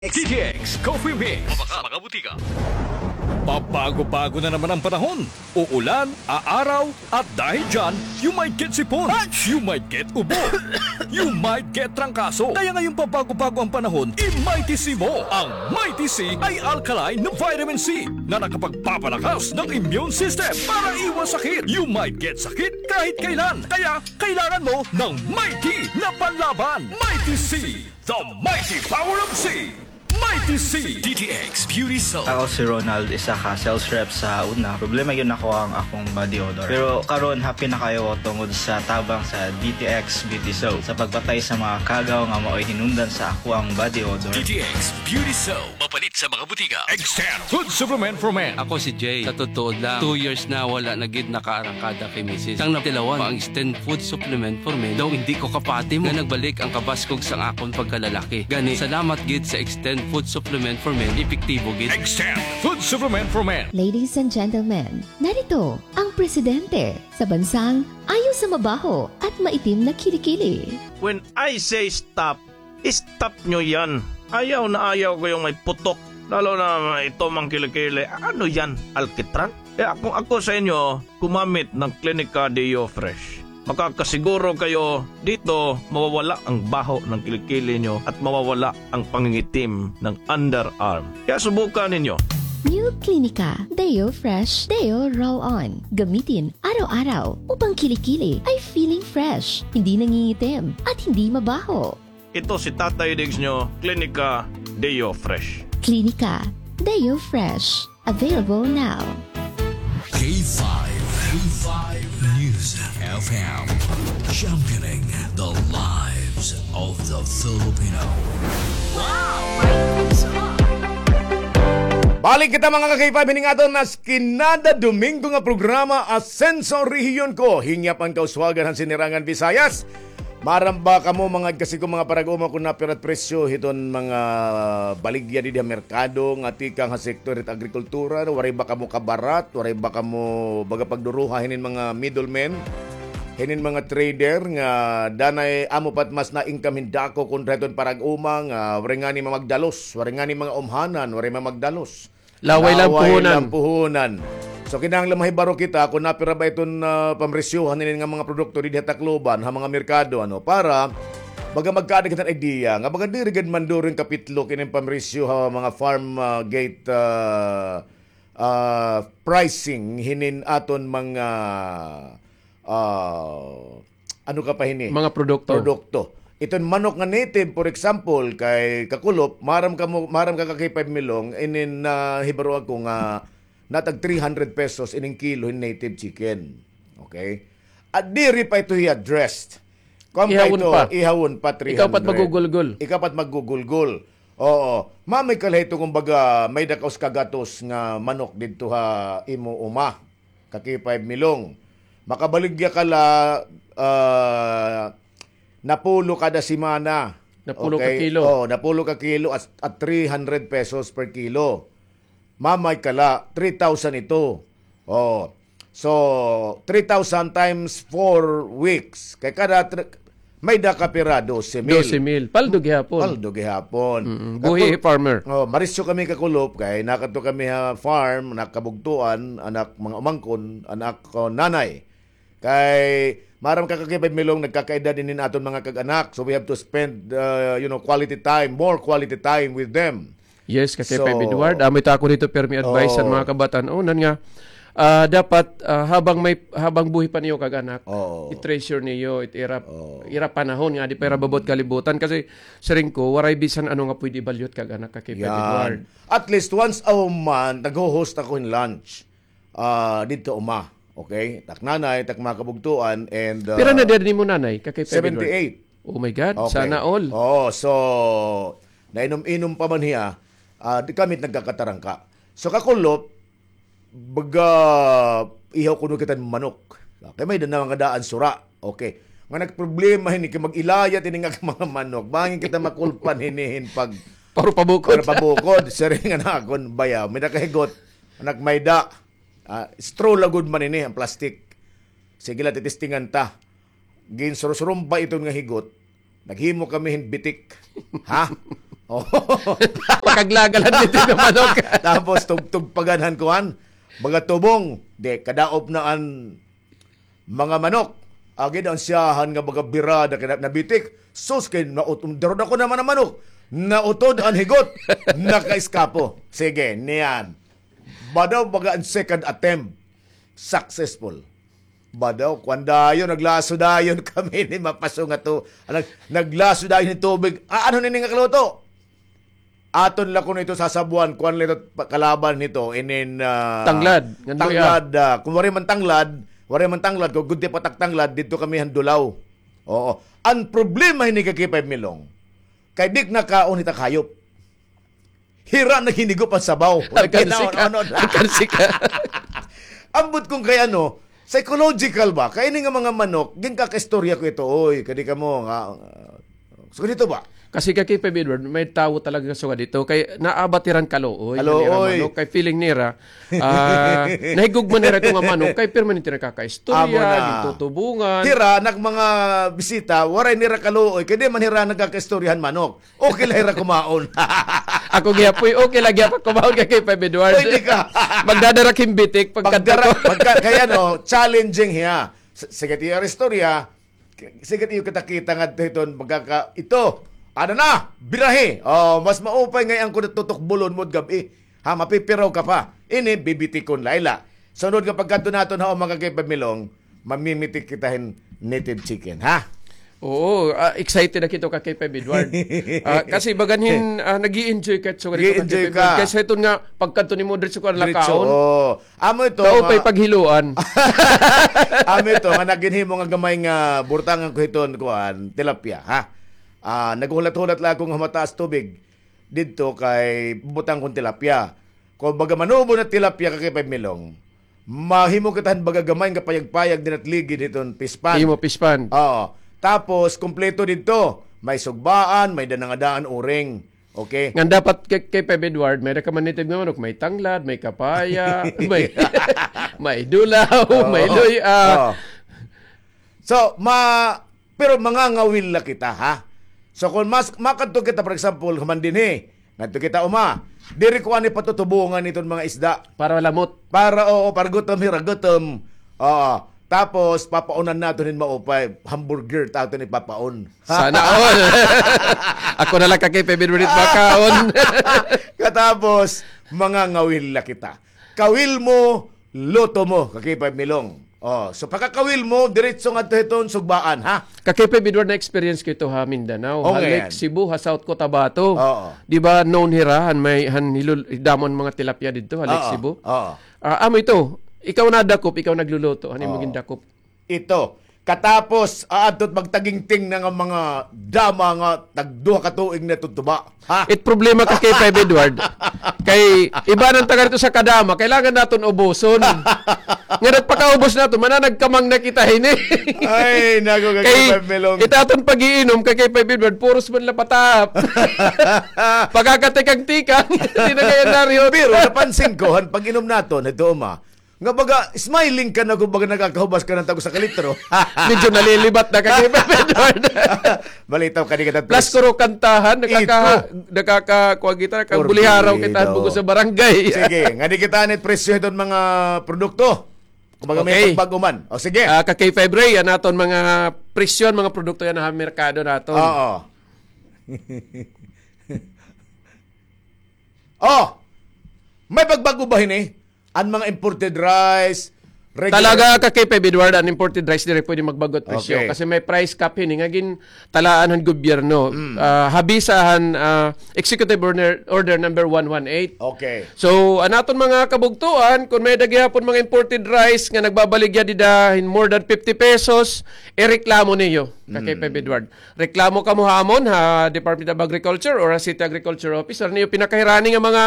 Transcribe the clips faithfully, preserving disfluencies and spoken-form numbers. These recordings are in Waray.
D T X Coffee Mix. Mabaka, mga butika. Pabago-bago na naman ang panahon. Uulan, aaraw, at dahil dyan, you might get sipon. You might get ubo. You might get trangkaso. Kaya ngayong pabago-bago ang panahon, i-Mighty C mo. Ang Mighty C ay alkaline na vitamin C na nakapagpapalakas ng immune system para iwas sakit. You might get sakit kahit kailan. Kaya kailangan mo ng Mighty na panlaban. Mighty C, the mighty power of C. Mighty C. D T X Beauty Soap. Ako si Ronald, isa ka sales rep sa una. Problema gyud nako ang akong body odor. Pero karon, happy na kaayo ko tungod sa tabang sa D T X Beauty Soap sa pagpatay sa mga kagaw nga maoy hinungdan sa ako ang body odor. D T X Beauty Soap. Mapalit sa mga butika. Extend Food Supplement for Men. Ako si Jay. Sa totoo lang, two years na wala na gid nakaarangkada kay misis. Sang natilawan pa ang Extend Food Supplement for Men, daw hindi ko kapati mo nga nagbalik ang kabaskog sang akon pagkalalaki. Gani, salamat gid sa Extend Food Supplement for Men, epektibo gid. Extend Food Supplement for Men. Ladies and gentlemen, narito ang presidente sa bansang ayaw sa mabaho at maitim na kilikili. When I say stop, stop nyo yan. Ayaw na ayaw ko yung may putok. Lalo na ito mang kilikili. Ano yan? Alkitran? Kaya kung ako sa inyo, gumamit ng Clinica Deo Fresh. Makakasiguro kayo dito mawawala ang baho ng kilikili nyo at mawawala ang pangingitim ng underarm. Kaya subukan ninyo. New Clinica Deo Fresh Deo Roll On. Gamitin araw-araw upang kilikili ay feeling fresh, hindi nangingitim, at hindi mabaho. Ito si Tatay Diggs nyo, Clinica Deo Fresh. Clinica Deo Fresh. Available now. K five, K five News F M, championing the lives of the Filipino. Balik kita, mga ka-K five, hining aton nas kinada Domingo nga programa, Asenso Rehiyon Ko. Hingyap an kauswagan han Sinirangan Visayas. Maaram ba kamo, mga igkasi ko, mga parag-uma, kon napira it presyo hiton mga baligya didi ha merkado nga tikang ha sektor hit agrikultura? Waray ba kamo kabarat? Waray ba kamo baga pagduruha hinin mga middlemen? Hinin mga trader nga danay amo pa it mas na-income hin dako kontra hiton parag-uma nga waray ngani mamagdalos, waray ngani mga umhanan, waray mamagdalos. Laway la an puhunan. Laway la an puhunan. So, kinahanglan mahibaro kita kon napira ba iton, ah, pamresyohan hinin nga mga produkto didi ha Tacloban, ha mga merkado, ano, para baga magkaada kita hin idea nga baga diri gad manduro hin kapitlok inin pamresyo ha mga farm, ah, gate, ah, ah, pricing hinin aton mga, ah, ano ka pa hini? Mga produkto. Produkto. Iton manok nga native, for example, kay Kakulop, maaram ka mo, maaram ka, ka-K five Milong, inin nahibaro ako nga natag three hundred pesos ining kilo hin native chicken. Okay? At diri pa ito hiya dressed. Kuan pa ito, ihawon pa, three hundred. Ikaw pa it maggugulgol. Ikaw pa it maggugulgol. Oo. Mamay ka la hito, kumbaga, may-ada ka usa ka gatos nga manok didto ha imo uma. Ka-K five Milong. Makabaligya ka la, ah, napulo kada semana. Napulo ka kilo. Okay? Oh, napulo ka kilo at, at three hundred pesos per kilo. Mamay ka la, three thousand ito. Oh. So, three thousand times four weeks. Kay kada tr-, may-ada ka pira, dose mil. Dose mil. Paldo gihapon. Paldo gihapon. Mm-mm. Buhi, Kakul-, farmer. Oh, marisyo kami, Kakulop, kay nakadto kami ha farm, anak kabugtoan, anak mga umangkon, anak ko nanay. Kay maaram ka, ka-K five Milong, nagkakaedad inin aton mga kag-anak. So we have to spend, uh, you know, quality time, more quality time with them. Yes, ka-K five Edward. Amo ito ako dito, pirmi advice sa mga kabatan-onan nga, ah, dapat, ah, habang may, habang buhi pa niyo kag-anak, i-treasure niyo, it ira, ira panahon nga, di pa ira babot kalibutan. Kasi, siring ko, waray bisan ano nga pwede balyot kag-anak, ka-K five Edward. At least once a month, nagho-host ako hin lunch. Ah, didto uma. Okay? Tak nanay, tak mga kabugtoan, and, ah, pira na edad nimo, nanay, ka-K five Edward? Seventy-eight. Oh my God, sana all. Oo, so, nainom-inom pa man hiya, ah, di kami nagkakatarangka. So, Kakulop, baga, ihaw kuno kita hin manok. Kay may-ada na nga daan sura. Okay. Nga nagproblema hini kay mag-ilayat ini nga mga manok. Bangin kita makulpan hini hin pag- Para pabukod. Para pabukod. Siring nga nakon, bayaw. May-ada ka higot. Anak, may-ada. Ah, straw la gud man ini, an plastic. Sige la, titistingan ta. Ginsursurumpa iton nga higot. Naghimo kami hin bitik. Ha? Oh. Pakaglagalan dito nga manok. Tapos tugtog pa gad han kuan. Baga tubong. Di, kadaop na an mga manok. Agi daw an siyahan nga baga birada kay na-, nabitik. Sus, kay naut-, darudako naman an manok. Nautod an higot. Nakaiskapo. Sige, niyan. Badaw baga an second attempt. Successful. Badaw, kuan dayon, naglaso dayon kami ni mapaso nga to. Nag-, naglaso dayon hin tubig. Ah, ano nini nga kaluto? Aton la kuno ito sasabuan, kuan la ito pa-, kalaban nito, inin, ah, tanglad. Tanglad, ah, kung waray man tanglad, waray man tanglad, kung gudti pa tak tanglad, didto kami han dulaw. Oo. An problema hini ka K five Milong, kay di nakaon hit ak hayop. Hira naghinigo pa sabaw. Nagkansi ka. Ano na? Nagkansi ka. Ambot kung kay ano, psychological ba? Kay ini nga mga manok, ginkakaistorya ko ito, oy, kadi kamo nga, so, ganito ba? Kasi ka K five Edward, may tawo talaga sugad ito. Kay naabat hiran kaluoy. Kaluoy. Nira manok, kay feeling nira, ah, nahigugma nira ito nga manok, kay permanente nakakaistorya, amo na, gintutubungan. Hira, nak mga bisita, waray nira kaluoy, kay di man hira nagkakaistoryahan manok. Okay la hira kumaon. Ako gihapoy, okay la gihapon kumaon ka K five Edward. Pwede ka. Magdadara ak hin bitik, pagkadto ko. Pagdara, pagka-, kay ano, challenging hiya. S-, sige, tiyo istorya. Sige, tiyo kita-kita ngadto hiton, magkaka-, ito. Ano na? Birahi. Oh, mas maupay ngay-an ko natutukbulon mo gab-i. Ha, mapipiraw ka pa. Ini, bibitikon la ila. Sunod nga pagkadto naton ha, mga K five Milong, mamimitik kita hin native chicken, ha? Oo, ah, excited na kito ka K five Edward. Ah, kasi baganhin, ah, nag-i-enjoy ka, so, ganito ka K five Edward. Kaysa iton nga, pagkadto nimo, diretso ka nalakaon. Oo. Amo ito, kaupay nga paghiluan. Amo ito, nga naginhimo nga gamay nga burtangan ko hiton, kuan, tilapia, ha? Ah, naghulat-hulat la ako nga mataas tubig. Didto kay butang kon tilapia. Kon baga manubo na tilapia ka K five Milong, mahimo kita hin baga gamay nga payag-payag dinhi ha ligid hiton fish pond. Imo fish pond. Oo. Tapos, kompleto didto. May sugbaan, may danangadaan, uring. Okay? Ngan dapat kay, kay Peb Edward, may-ada ka man native nga manok, may tanglad, may kapaya, may, may dulaw, oo, may luy-a. Oo. So, ma-, Pero mangangawil la kita, ha? So, kon mas, makadto kita, for example, human dinhi, ngadto kita uma, diri ko ani patutubongan iton mga isda. Para lamot. Para, oo, para gutom, hira gutom. Oo. Tapos, papaunan naton hin maupay, hamburger, ta aton ipapaon. Sana all. Ako na la ka kay Peb Edward makaon. Katapos, mangangawil la kita. Kawil mo, luto mo, ka K five Milong. Oh, so pagkakawil mo, diretso ngadto hiton sugbaan, ha? Ka K five Edward, na-experience ko ito ha Mindanao, ha Lake Cebu, ha South Cotabato. Oo. Di ba known hira, han may, han hilul-, damo an mga tilapia didto, ha Lake Cebu? Oo. Ah, amo ito, ikaw nadakop, ikaw nagluluto, han imo gindakop. Ito. Katapos, aadto it magtagingting na nga mga dama nga tagduha ka tuig na tutuba. Ha? It problema ka kay Peb Edward. Kay iba na an taga didto sa kadama, kailangan naton ubuson. Nga nagpakaubos naton, mananagkamang na kita hini. Ay, naku, ka kay Peb Milong. It aton pag-iinom ka kay Peb Edward, puros man la patap. Pagkakatikang-tikang, di na kaya narihot. Pero napansin ko, han pag-inom naton, ito, uma, nga baga, smiling ka na kung baga nagkakahubas ka na hin tag-usa ka litro. Medyo nalilibat na ka kay Peb Edward. Malitaw ka, di ka. Plus, kuro kantahan, nakaka-, nakaka-, kuwan kita, nakabuliharaw kita, bug-os sa barangay. Sige, ngadi kita anit presyo hiton mga produkto. Kumbaga, may pagbag-o man. O, sige. Ah, ka K five Ray, an aton mga presyo, mga produkto yana ha merkado naton. Oo. Oh! May pagbag-o ba hini? An mga imported rice, regular. Talaga ka kay Peb Edward, an imported rice diri pwede magbag-o it presyo. Okay. Kasi may price cap hini nga gintalaan han gobyerno. Mm. Ah, habisa han, ah, Executive Order, Order number one one eight. Okay. So, an aton mga kabugtoan, kon may-ada gihapon mga imported rice nga nagbabaligya dida hin more than fifty pesos, ireklamo niyo ka kay Peb Edward. Reklamo kamo ha amon, ha Department of Agriculture or ha City Agriculture Office, or niyo pinakahirani nga mga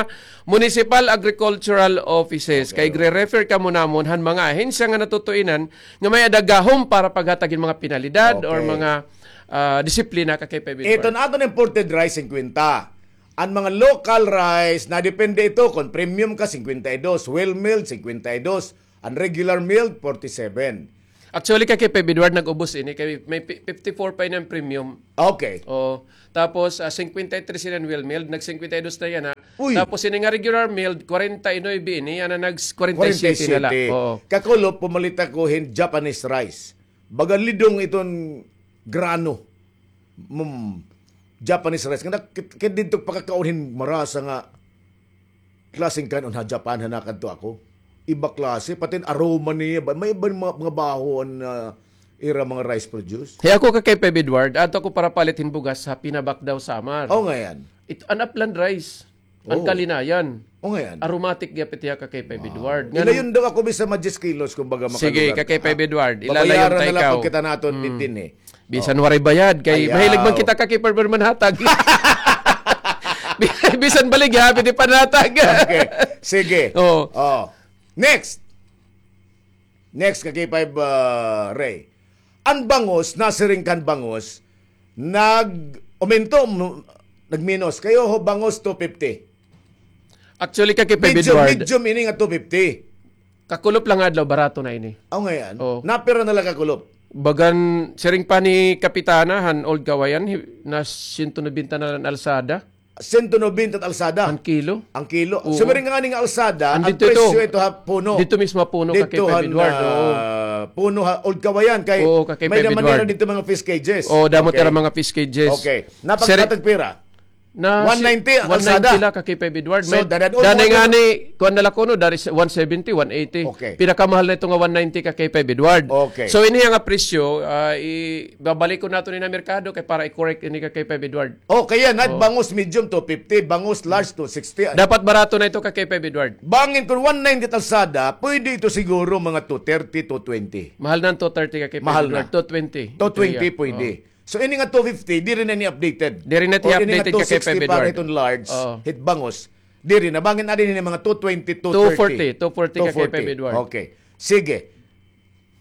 municipal agricultural offices. Okay. Kay gre-refer kamo namon han mga ahensya nga natutuinan nga may-ada gahom para paghatag hin mga penalidad or mga, ah, disiplina ka kay Peb Edward. Iton aton imported rice, singkwenta. An mga local rice, nadepende ito kon premium ka, singkwenta y dos, well milled, singkwenta y dos, an regular milled, forty-seven. Actually, Ka K five Edward, nag-ubos ini kay may pi-, fifty-four pa ini an premium. Okay. Oo. Tapos, ah, singkwenta y tres ini an well milled, nag-singkwenta y dos na yana. Uy! Tapos ini nga regular milled, kwarenta y nuebe ini, yana nag-kwarenta y siyete na la. Kwarenta y siyete. Oo. Kakulop, pumalit ako hin Japanese rice. Baga lidong iton grano. Mm, Japanese rice. Nga nak-, kit-, kit didto pakakaon hin marasa nga klaseng kan-on ha Japan, ha nakadto ako. Iba klase, pati an aroma niya, ba-, may iba mga, mga baho an, ah, ira mga rice produce. Kay ako, Ka K five Edward, adto ako para palit hin bugas ha Pinabacdao, Samar. Oh, nga yan. It, an upland rice. An kalinayan. Oh, nga yan. Aromatic gihapon hiya, Ka K five Edward. Wow. Ilayon daw ako bisan ma-diyes kilos, kumbaga, makalugar. Sige, Ka K five Edward. Ilalayon ta ikaw. Babayaran na la pud kita naton dinhi. Bisan waray bayad, kay mahilig man kita, Ka K five Edward, manhatag. Bisan baligya, pwede panhatag. Okay. Sige. Oo. Oh. Next. Next, Ka K five, ah, Ray. An bangus, nasiring kan bangus, nag-umento, m-, nagminos. Kay ho, bangus two fifty. Actually, Ka K five Edward. Medium, medium ini nga two fifty. Kakulop la nga adlaw, barato na ini. Aw, nga yan? Oo. Napira na la kakulop? Bagan, siring pa ni Kapitana, han Old Kawayan, hi-, na siyento nobenta na la an alsada. Siyento nobenta an alsada. An kilo? An kilo. Oo. Siring ngani nga alsada, an presyo ito ha puno. Dito mismo ha puno, Ka K five Edward, oo. Puno ha Old Kawayan, kay may naman nira dito mga fish cages. Oo, damo tira mga fish cages. Okay. Napagkatag pira? Na one ninety an alsada. One ninety la, Ka K five Edward. So, danay ngani, kuan na la kuno, dari sa one seventy, one eighty. Okay. Pinakamahal na ito nga one ninety, Ka K five Edward. Okay. So, ini nga presyo, ah, i-, babalik ko nato ni na merkado kay para i-correct ini, Ka K five Edward. Oh, kaya na, bangus medium two fifty, bangus large two sixty. Dapat barato na ito, Ka K five Edward. Bangin kun one ninety an alsada, pwede ito siguro mga two thirty, two twenty. Mahal na an two thirty, Ka K five Edward. Mahal na. Two twenty. Two twenty pwede. Oo. So, ini nga two fifty, diri na ini updated. Diri na it i-updated, Ka K five Edward. O ini nga two sixty para hiton large, hit bangus. Diri na, bangin adi ini mga two twenty, two thirty. Two forty, two forty, Ka K five Edward. Okay. Sige.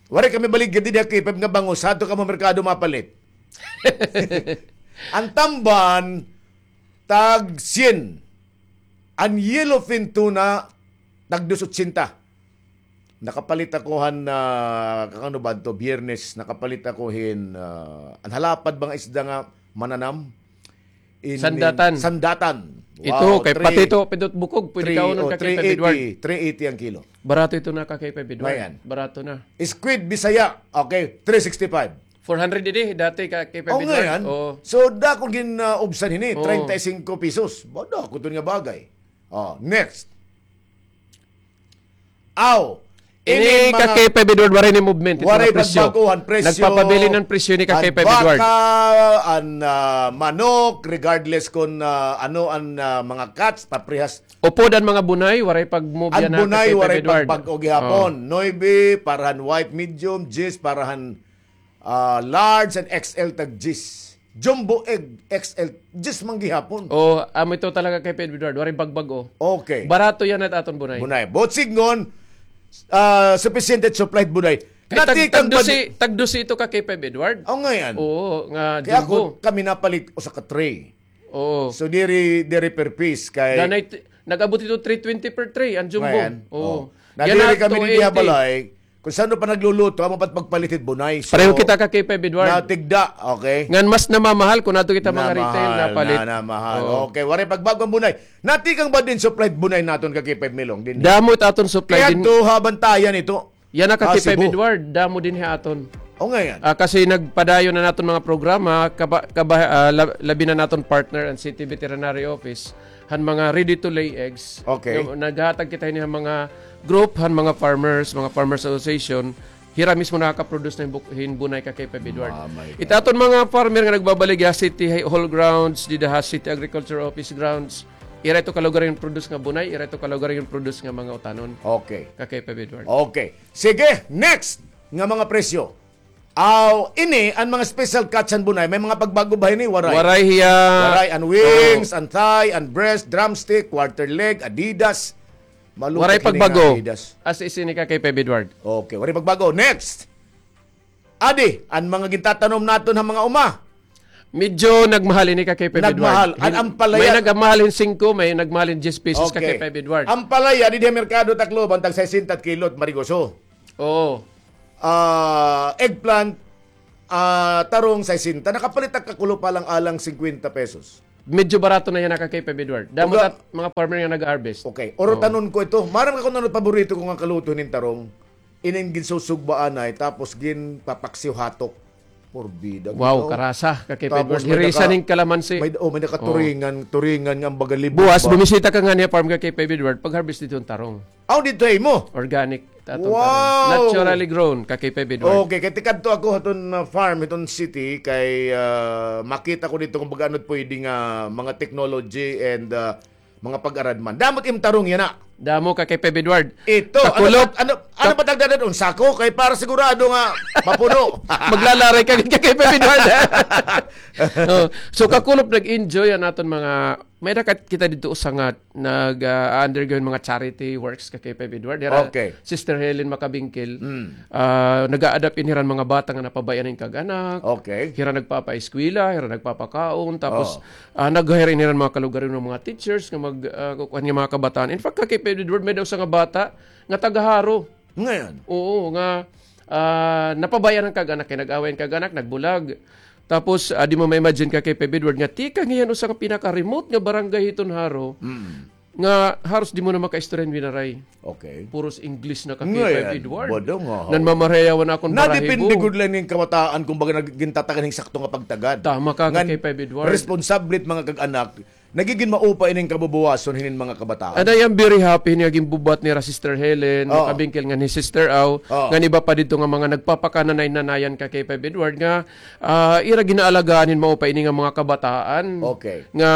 Waray kami baligya didi ha K five nga bangus, hadto kamo merkado mapalit. An tamban, tag syen. An yellowfin tuna, tag dos otsenta. Nakapalit ako han, ah, kakano ba adto, Biyernes, nakapalit ako hin, ah, an halapad ba nga isda nga mananam? In, in sandatan. Sandatan. Ito, wow, kay pati ito, pindot bukog, pwede kaunon, Ka K five Edward. Three eighty an kilo. Barato ito na, Ka K five Edward. Ngayon. Barato na. Squid Bisaya, okay, three sixty-five. Four hundred ini, dati, Ka K five Edward. Oh, ngayon. Oo. So, dako gin, ah, ubsan hini, treinta y cinco pesos. Bada ko ito nga bagay. Oh, next. Aw, ini, Ka K five Edward, waray ni movement. Waray pagbago han presyo. Nagpapabilin an presyo ini, Ka K five Edward. An baka, an, ah, manok, regardless kun, ah, ano an, ah, mga cuts, paprehas. Upod an mga bunay, waray pag-move yana, Ka K five Edward. An bunay, waray pagbag-o gihapon. Oh. Nuebe para han white medium, diyes para han Ah, large and X L tag diyes. Jumbo egg, X L, diyes man gihapon. Oh, amo ito talaga, Ka K five Edward. Waray bagbag-o. Okay. Barato yana it aton bunay. Bunay. Buot sidngon, ah, supisyente it supply bunay. Kay tag-, tag-dose, tag-dose ito, Ka K five Edward. Oh, ngayon. Oo, nga jumbo. Kay ako, kami napalit usa ka tray. Oo. So, diri, diri per piece kay danay t-, nag-abot ito three twenty per tray, an jumbo. Ngayon, oo. Nadiri kami didi ha balay, kun san-o pa nagluluto, amo pa it pagpalit hit bunay. So, pareho kita, Ka K five Edward. Natigda, okay. Ngan mas namamahal kun adto kita mga retail, napalit. Namahal, namahal. Oo. Okay, waray pagbago an bunay. Natikang ba din supply bunay naton, Ka K five Milong, dinhi? Damo it aton supply din. Kay adto ha Bantayan ito. Yana, Ka K five Edward, damo dinhi ha aton. O, ngayon. Ah, kasi nagpadayon na naton mga programa, kaba-, kaba-, ah, lab-, labi na naton partner an City Veterinary Office, han mga ready-to-lay eggs. Okay. Yung naghatag kita hini han mga group, han mga farmers, mga farmers association, hira mismo nakaka-produce na hin bu-, hin bunay, Ka K five Edward. Ah, my God. It aton mga farmer nga nagbabaligya, City Hall grounds, dida ha City Agriculture Office grounds, ira ito kalugar hin produce nga bunay, ira ito kalugar hin produce nga mga utanon. Okay. Ka K five Edward. Okay. Sige, next nga mga presyo. Aw, ini an mga special cuts han bunay, may mga pagbago ba hini? Waray. Waray hiya. Waray, an wings, an thigh, an breast, drumstick, quarter leg, Adidas. Malutik hini nga Adidas. Waray pagbago. As is ini, Ka K five Edward. Okay, waray pagbago. Next. Adi, an mga gintatanom naton ha mga uma. Medyo nagmahal ini, Ka K five Edward. Nagmahal. An ampalaya. May nagmahal hin singko, may nagmahal hin diyes pesos, Ka K five Edward. Okay. Ampalaya, didi ha merkado Tacloban, tag sesenta it kilo, marigoso. Oo. ah, eggplant, ah, tarong, sesenta. Nakapalit ak kakulop alang-alang singkwenta pesos. Medyo barato na yana, Kakay Feb Edward. Damo Uga- tat mga farmer nga nag-harvest. Okay, Oo. Urutanon ko ito. Maaram ka kon ano paborito ko nga kaluto hinin tarong? Ining ginsusugba anay, tapos ginpapaksiw hatok. Porbida, Wow, ginaw. karasa, Kakay Feb Tapos Edward. may Hirisa naka-, ning kalamansi. may, oh, may Oo. nakaturingan, turingan nga ang baga libog Buwas, ba? bumisita ka ngani ha farm, Kakay Feb Edward, pag-harvest didto hin tarong. Aw, didto ha imo? Organic, tatong Wow! tarong. Naturally grown, Kakay Feb Edward. Okay, kay tikadto ako haton, ah, farm, hiton city, kay, ah, makita ko didto kon baga ano it pwede nga mga technology and, ah, mga pag-aradman. Damo it im tarong yana. Damo, Kakay Feb Edward. Ito, ano Kakulop. ba, ano, ano Ka- ba tagdadan? Un sako? Kay para sigurado nga mapuno. Maglalaray ka, Kakay Feb Edward. Oh, so, kakulop, nag-enjoy an aton mga, may-ada kat-, kita didto usa nga nag, ah, undergo hin mga charity works, Kakay Feb Edward. Hira Okay. Sister Helen Macabingkil. Mm. Ah, nag-a-adapt ini hiran mga bata nga napabay-an hin kag-anak. Okay. Hira nagpapaeskwela, hira nagpapakaon, tapos, Oh. ah, nag-hire ini hiran mga kalugaringon nga mga teachers nga mag, ah, kukuan nga mga kabataan. In fact, Kakay Feb Edward, may-ada usa nga bata nga taga Jaro. Ngayon? Oo, nga, ah, napabay-an an kag-anak, kay nag-away an kag-anak, nagbulag. Tapos, ah, di mo ma-imagine, Kakay Feb Edward, nga tikang hiya han usa nga pinaka-remote nga barangay hiton Jaro, Mm. nga haros di mo na makaistorya hin Winaray. Okay. Puros English na, Kakay Feb Edward. Bodong, oh. Nanmamarayawan akon balahibo. Nadepende gud la ini hin kabataan kon baga nag-, gintatagan hin sakto nga pagtagad. Tama ka, Kakay Feb Edward. Responsable it mga kag-anak, nagigin maupa ining kabubuwason hinin mga kabataan. And I am very happy hini nga ginbubuhat nira Sister Helen, Oh. Macabingkil ngan hi Sister Au, Oh. ngan iba pa didto nga mga nagpapakananay-nanayan, Kakay Feb Edward, nga ah, ira ginaalagaan hin maupa ini nga mga kabataan Okay. nga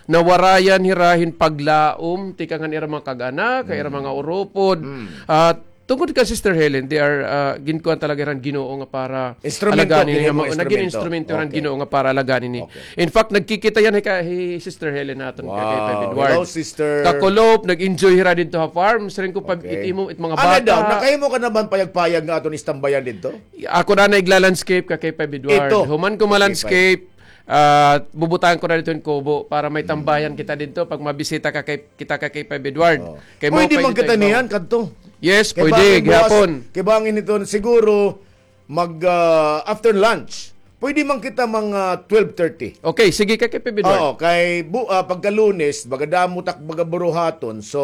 nawarayan hira hin paglaom tikang han ira mga kag-anak, ha ira Mm. mga urupod. Mm. Ah, tungod kan Sister Helen, they are, ah, ginkuan talaga hira han Ginoo nga para Instrumento, alagaan ini nga ginhimo mga, naging instrumento. instrumento hira han Okay. Ginoo nga para alagaan ini. Okay. In fact, nagkikita yana hi ka-, hi Sister Helen naton, Kakay Feb Edward. Wow. Hello, Sister. Kakulop, nag-enjoy hira didto ha farm. Siring ko pa, Okay. it imo, it mga Ano bata. daw, nakahimo ka na ba hin payag-payag nga aton istambayan didto? Ako na igla-landscape, Kakay Feb Edward. Ito. Human ko ma-landscape, ah, bubutangan ko na didto hin kubo para may tambayan kita didto pag mabisita ka kay, kita, Kakay Feb Edward. Oh. Kay Pwede mao pa man didto kita ikaw. niyan kadto. Yes, Kay pwede, bangin buwas, gihapon. kay bangin ito, siguro mag, ah, after lunch. Pwede man kita mga twelve thirty. Okay, sige, Kakay Feb Edward. Oo, kay bu-, ah, pagka Lunes, baga damo tak baga buruhaton. So,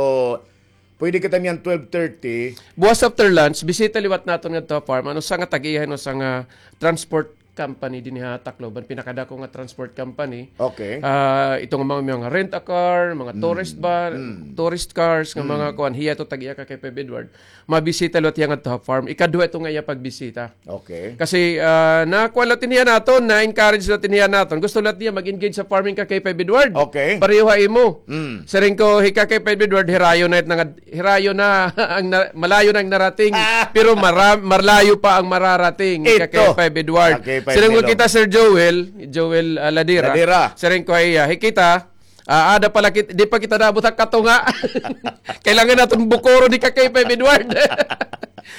Pwede kita niyan twelve thirty. Buwas after lunch, bisita liwat naton ngadto ha farm. Ano, usa nga tag-iya hin usa nga transport company dinhi ha Tacloban. Pinakadako nga transport company. Okay. Ah, ito nga mga, mga rent a car, mga Mm. tourist van, Mm. tourist cars, nga Mm. mga kuan. Hiya ito tag-iya, Kakay Feb Edward. Mabisita liwat hiya ngadto ha farm. Ikaduha ito nga iya pagbisita. Okay. Kasi, ah, nakuan liwat ini hiya naton, na-encourage liwat ini hiya naton. Gusto liwat niya mag-engage sa farming, Kakay Feb Edward. Okay. Pareho ha imo. Mm. Siring ko, hi Kakay Feb Edward, hirayo na it nangad-, hirayo na ang na-, malayo na ang narating, Ah. pero mara-, malayo pa ang mararating, Ito. Kakay Feb Edward. Kakay Feb Siring ko Melong. kita, Sir Joel, Joel, ah, Ladira. Ladira. Siring ko, ay, ah, hi kita, Ah, ada pala kit-, di pa kita naabot ha katunga. Kailangan naton bukuron ni Kakay Feb Edward.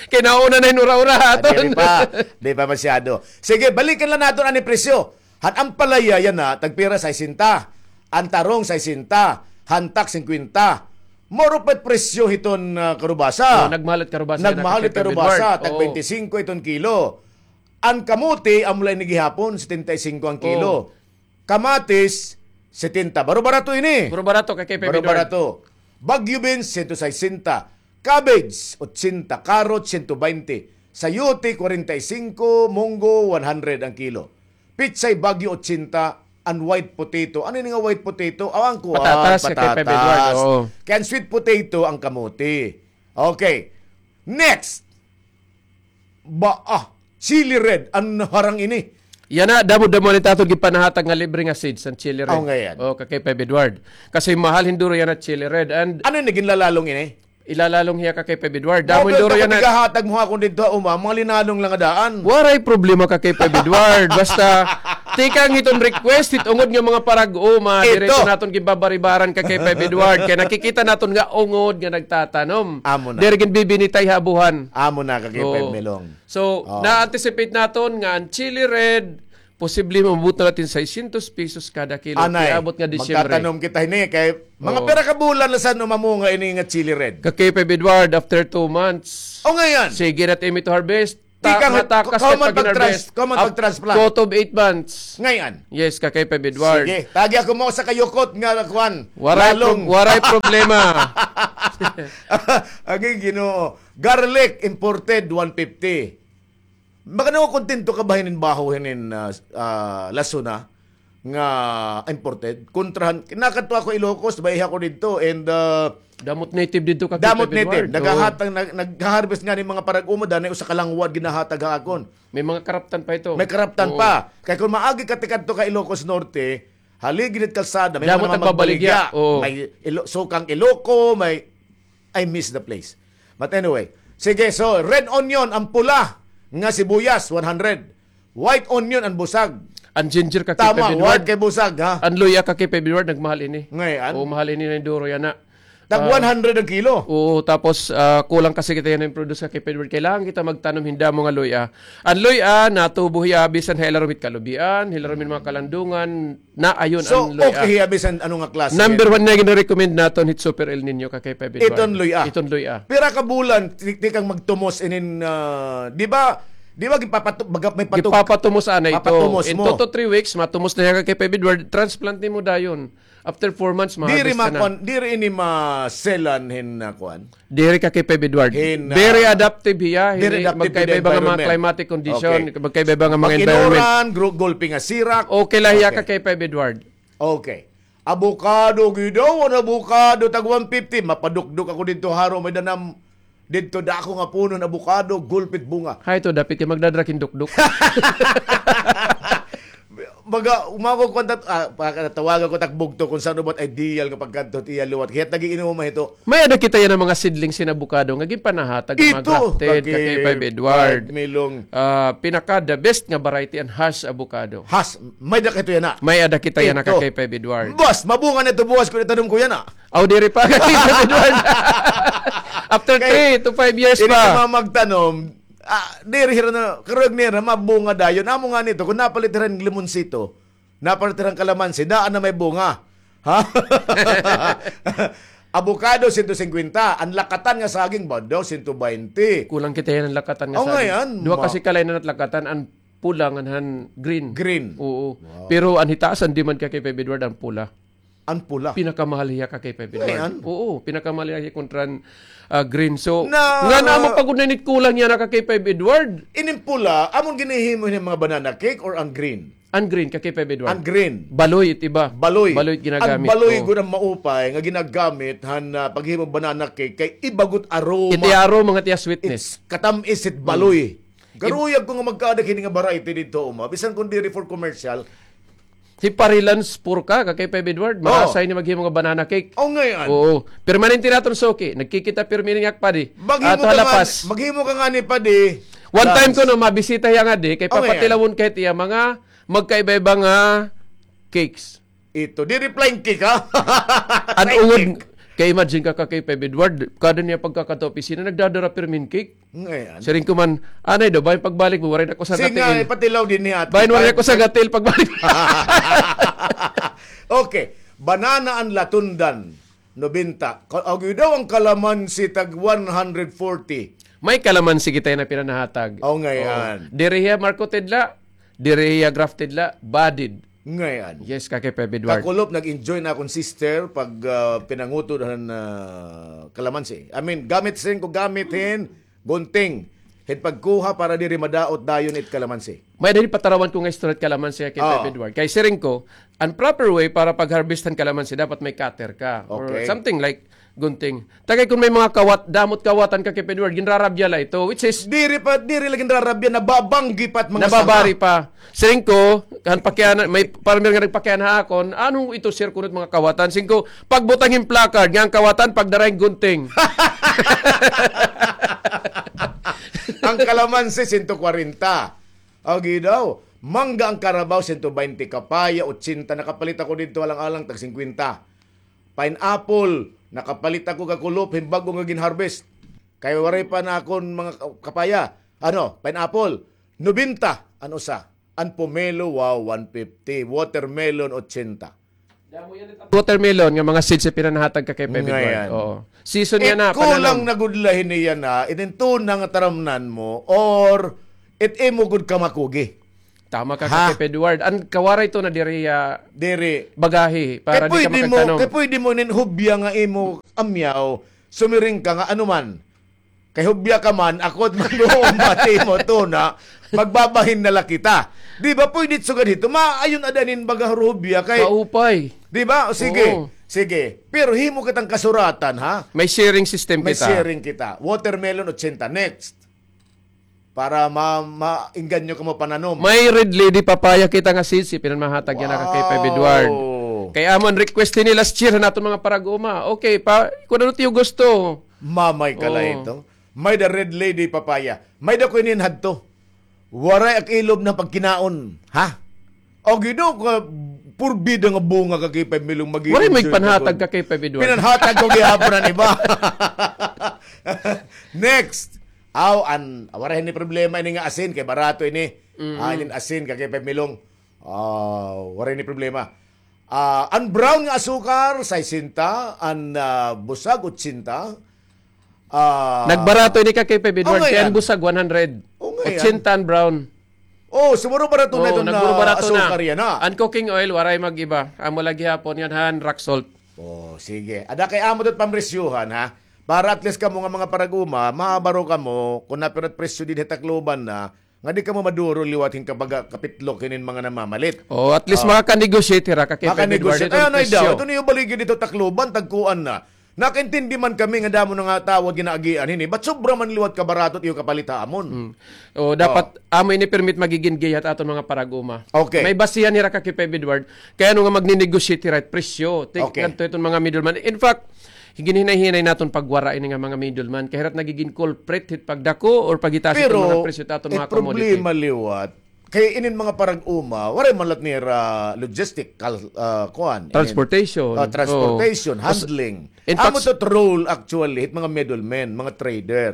Kay nauna na hin ura-ura ha Ah, aton. Di pa, di pa masyado. Sige, balikan la naton an presyo. Han ampalaya yana, tagpira, sesenta. An tarong, sesenta. Hantak, singkwenta. Mao ra pa it presyo hiton, ah, karubasa. Oh, nagmahal it karubasa yana, Kakay Feb Edward. Nagmahal it karubasa, tag Oo. baynte singko iton kilo. An kamote, amo la ini gihapon, setenta y cinco an kilo. Oh. Kamatis, setenta. Baro-barato ini. Baro-barato, Kakay Feb Edward. Baro-barato. Baguio beans, sento sesenta. Cabbage, ochenta. Carrot, sento baynte. Sayote, kwarenta y singko. Munggo, one hundred an kilo. Pitsay Baguio, ochenta. An white potato. Ano ini nga white potato? Aw, an kuan, Patatas, Kakay Feb Edward, patatas. oo. Kay an sweet potato, an kamote. Okay. Next. Ba, ah, chili red, an harang ini. Yana, damo-damo na it aton ginpanahatag nga libre nga seeds, an chili red. Aw, ngayan. Oh, Kakay Feb Edward. Kasi mahal hin duro yana chili red. And Ano ini, ginlalalong ini? Ilalalong hiya, Kakay Feb Edward. Damo hin duro yana. Kapag igahatag mo ha akon didto ha uma, mga linalong la nga daan. Waray problema, Kakay Feb Edward. Basta, tikang hiton request, hit ungod nga mga parag-uma, Ito. diretso naton ginbabaribaran, Kakay Feb Edward. Kay nakikita naton nga ungod nga nagtatanom. Amo na. Diri ginbibinitay ha abuhan. Amo na, Kakay Oo. Feb Melong. So, Oh. na-anticipate naton nga an chili red, posible maabot na naton sesenta pesos kada kilo. Anay, Kay abot nga Disyembre. magtatanom kita hini kay mga Oo. pira ka bulan na sa mamunga ini nga chili red. Kakay Feb Edward, after two months. O, ngayan. Sige na it imo ito harvest. Ta-, tikang matakas kay pag-harvest. Kauman pag-trans-, kauman pagtransplant. Kutob eight months. Ngay-an. Yes, Kakay Feb Edward. Sige, tagi ako mo sa kayukot nga kuan. Waray pro-, waray problema. Agi Ginoo. Garlic imported one fifty. Makano kontento ka ba hinin baho hinin, ah, ah, lasona nga imported? Kontrahan, nakadto ako Ilocos, baiha ko didto, and, ah, damo it native didto, Kakay Feb Edward. Damo it native. Naghahatag, nag-, nagha-harvest ngani mga parag-uma, danay usa ka langwad ginahatag ha akon. May mga karaptan pa ito. May karaptan pa. Kay kon maagi ka tikadto ka Ilocos Norte, haligi hit kalsada, may mga nagbabaligya. Damo nagbabaligya. Oo. May ilo-, sukang Iloco, may, I miss the place. But anyway, sige, so red onion, an pula nga sibuyas, one hundred. White onion, an busag. An ginger, Kakay Feb Edward. Tama, white kay busag, ha? An luya, Kakay Feb Edward, nagmahal ini. Ngay-an. Oo, mahal ini, nahinduro yana. Tag one hundred an kilo. Oo, tapos, ah, kulang kasi kita yana hin produce, Kakay Feb Edward. Kailangan kita magtanom hin damo nga luya. An luya, natubo hiya bisan ha ilarom hit kalubian, ha ilarom hin mga kalandungan, na ayon an luya. So, okay hiya bisan ano nga klase. Number one na gina-recommend naton hit Super El Niño, Kakay Feb Edward. Iton luya. Iton luya. Pira ka bulan, ti-, tikang magtumos inin, ah, di ba, di ba, gipapatu-, baga may patu-, gipapatumos anay ito. Papatumos mo. In two to three weeks, matumos na hiya, Kakay Feb Edward, transplant nimo dayon. After four months, ma-harvest ka na. Diri ma-, kuan, diri ini ma-selan hin, ah, kuan? Diri, Kakay Feb Edward. Hin, ah, very adaptive hiya, very adaptive hin magkaiba-iba nga mga climatic condition, okay, magkaiba-iba nga mga environment. Mag-inuran, gru-, gulpi nga sirak. Okay la hiya, Kakay Feb Edward. Okay. Avocado, gid daw, an avocado, tag one fifty. Mapadukdok ako didto, haro, may danam, didto, dako nga puno hin avocado, gulpi it bunga. Hay, ito, dapit ka magdadrak hin dukdok. Baga, umako ko, ah, pakatawagan ko tak bugto kung saan ba it ideal nga pagkadto it iya liwat. Kay nag-iinuma ito. May-ada kita yana mga seedlings hin avocado nga ginpanahatag, mga grafted, Kakay Feb Edward. Milong. Ah, pinaka the best nga variety an Hass avocado. Hass, may-ada kita yana. May-ada kita yana, Kakay Feb Edward. Boss, mabunga na ito buwas kon itanom ko yana. Aw, diri pa, Kakay Feb Edward. After three to five years pa. Ini ka magtanom, ah, diri hira na, karuyag nira, mabunga dayon. Amo ngani ito, kon napalit hira hin limonsito, napalit hira hin kalamansi, daan na may bunga. Ha? Avocado, sento singkwenta. An lakatan nga saging ba daw, sento baynte. Kulang kita yana an lakatan nga saging. Ngay-an. Duha kasi ka-line an lakatan, an pula ngan han green. Green. Oo. Wow. Pero an hitaas an demand, Kakay Feb Edward, an pula. An pula. Pinakamahal hiya, Kakay Feb Edward. Ngay-an? Oo, pinakamahal hiya kontra an, ah, green. So, ngan amo pa gud na init kulang yana, Kakay Feb Edward. Inin pula, amon ginhihimo hin mga banana cake or an green? An green, Kakay Feb Edward. An green. Baloy it iba. Baloy. Baloy it ginagamit. An baloy gud an maupay nga ginagamit han, ah, paghimo banana cake kay iba gud aroma. It iya aroma ngan it iya sweetness. Katam-is it baloy. Karuyag ko nga magkaadak hini nga variety didto, uma. Bisan kon diri for commercial. Hi Parilan Spurka, Kakay Feb Edward, marasay ini maghimo nga banana cake. Oh, ngay-an. Oo. Permanente naton suki. Nagkikita pirmi ini nga ak padi. Ato ha La Paz. Maghimo ka ngani padi. One time kuno, mabisita hiya ngadi, kay papatilawon ka hit iya mga magkaiba-iba nga cakes. Ito, diri plain cake, ha? An ungod, kay imagine ka, Kakay Feb Edward, kada niya pagkakadto opisina, nagdadara pirmi hin cake. Ngay-an. Siring ko man, anay daw, bahin pagbalik mo, waray na ko sa gatil. Sige nga, ipatilaw dinhi ato. Bahin waray na ko sa gatil pagbalik. Okay. Banana an latundan, nobenta. Ka-, agi daw an kalamansi tag one hundred forty. May kalamansi kita yana pinanahatag. Oh, ngay-an. Oo. Diri hiya marketed la, diri hiya grafted la, budded. Ngay-an. Yes, Kakay Feb Edward. Kakulop, nag-enjoy na akon sister pag, ah, pinangutod han, ah, kalamansi. I mean, gamit, siring ko, gamit hin gunting. Hin pagkuha para diri madaot dayon it kalamansi. May diri patarawan ko nga istorya hit kalamansi, Kakay Feb Edward. Kay siring ko, an proper way para pag-harvest han kalamansi, dapat may cutter ka. Or something like gunting. Tagay kon may mga kawat, damo it kawatan, Kakay Feb Edward, ginrarabya la ito, which is diri pa, diri la ginrarabya, nababanggi pa it mga sanga. Nababari pa. Siring ko, han pakiana, may farmer nga nagpakiana ha akon, ano ito, sir, kuno it mga kawatan? Siring ko, pagbutang hin placard, nga an kawatan, pagdara hin gunting. An kalamansi, sento kwarenta. Agi daw, mangga an karabaw, sento baynte, kapaya, otsenta, nakapalit ako didto, alang-alang, tag singkwenta. Pineapple, nakapalit ako, kakulop, hin bag-o nga gin-harvest. Kay waray pa an akon mga ka-, kapaya. Ano, pineapple, nobenta an usa. An pomelo, wow, one fifty. Watermelon, otsenta. Watermelon nga mga seeds nga pinanahatag, Kakay Feb Edward. Ngay-an. Oo. Season yana, kulang na gud la hini yana. Inin tuna nga taramnan mo or it imo gud kamakugi. Tama ka, Ha? Ka Kay Edward. An kawaray to na diri, ah, Diri. bagahi para Kay di ka pwede mo, makagtanom. kay pwede mo inin hubya nga imo amyaw, sumiring ka nga ano man. Kay hubya ka man, ako it man mo, bati mo to na, magbabahin na la kita. Di ba pwede sugad hito? Maayon ada inin baga hubya kay Kaupay. Di ba? O, sige. Oo. Sige. Pero himo kitang kasuratan, ha? May sharing system May kita. sharing kita. Watermelon, ochenta. Next. Para ma-, maingganyo kamo pananom. May Red Lady papaya kita nga sisi, pinanmahatag yana ka Kay Five Edward. Wow. Kay amo an request ini last year han aton mga parag-uma. Okay, pa, kun ano it iyo gusto. Mamay ka la Oo. ito. May da Red Lady papaya. May da ko inin hadto. Waray ak ilob na pagkinaon. Ha? O, Ginoo ko, purbida nga bunga ka Kay Five Milong, mag-enjoy Waray may ka panhatag gud. ka Kay Five Edward. Pinanhatag ko gihapon an iba. Next. Aw, an, waray ni problema ini nga asin, kay barato ini. Mm. Ah, inin asin ka Kay Five Milong. Ah, waray ni problema. Ah, an brown nga asukar, sesenta, an, ah, busag, ochenta. Ah, Nagbarato ini ka Kay Five Edward, okay kay an yan. busag, one hundred. Okay yan. Ochenta an brown. Oh, siguro barato na Oo, ito na nagburo-barato na. asukar yan, ha? An cooking oil, waray mag-iba. Amo la gihapon ngan han rock salt. Oh, sige. Ada kay amo ito pamresyuhan, ha? Para at least kamo nga mga parag-uma, mabaro kamo, kung napira it presyo dinhi Tacloban na, nga di kamo maduro liwat hin kabaga kapitlok hinin mga namamalit. Oh, at least Oh. makanegotiate hira ka Kay Five Edward Makanegosyate. Ay, ano daw? presyo. Ito niyo baligid dito Tacloban, tagkuan na. Nakaintindi man kami nga damo na nga tawo ginaagian hini. Ba't sobra man liwat kabarato it iyo kapalit ha amon? Mm. O, dapat Oh. amo ini permit magigin giya hit aton mga parag-uma. Okay. May basihan hira ka Kay Five Edward. Kay ano nga magni-negotiate hira it presyo. Tik-, Okay. ngadto iton mga middleman. In fact, ginhinay-hinay naton pagwara ini nga mga middleman. Kay hira it nagigin culprit hit pagdako or paghitaas iton mga presyo hit aton mga commodity. Pero it problema liwat, Kay inin mga parag-uma, waray man lat nira logistical, ah, kuan, inin, Transportation. ah, transportation, Oo. handling. In Amo fact, to role actually, hit mga middlemen, mga trader.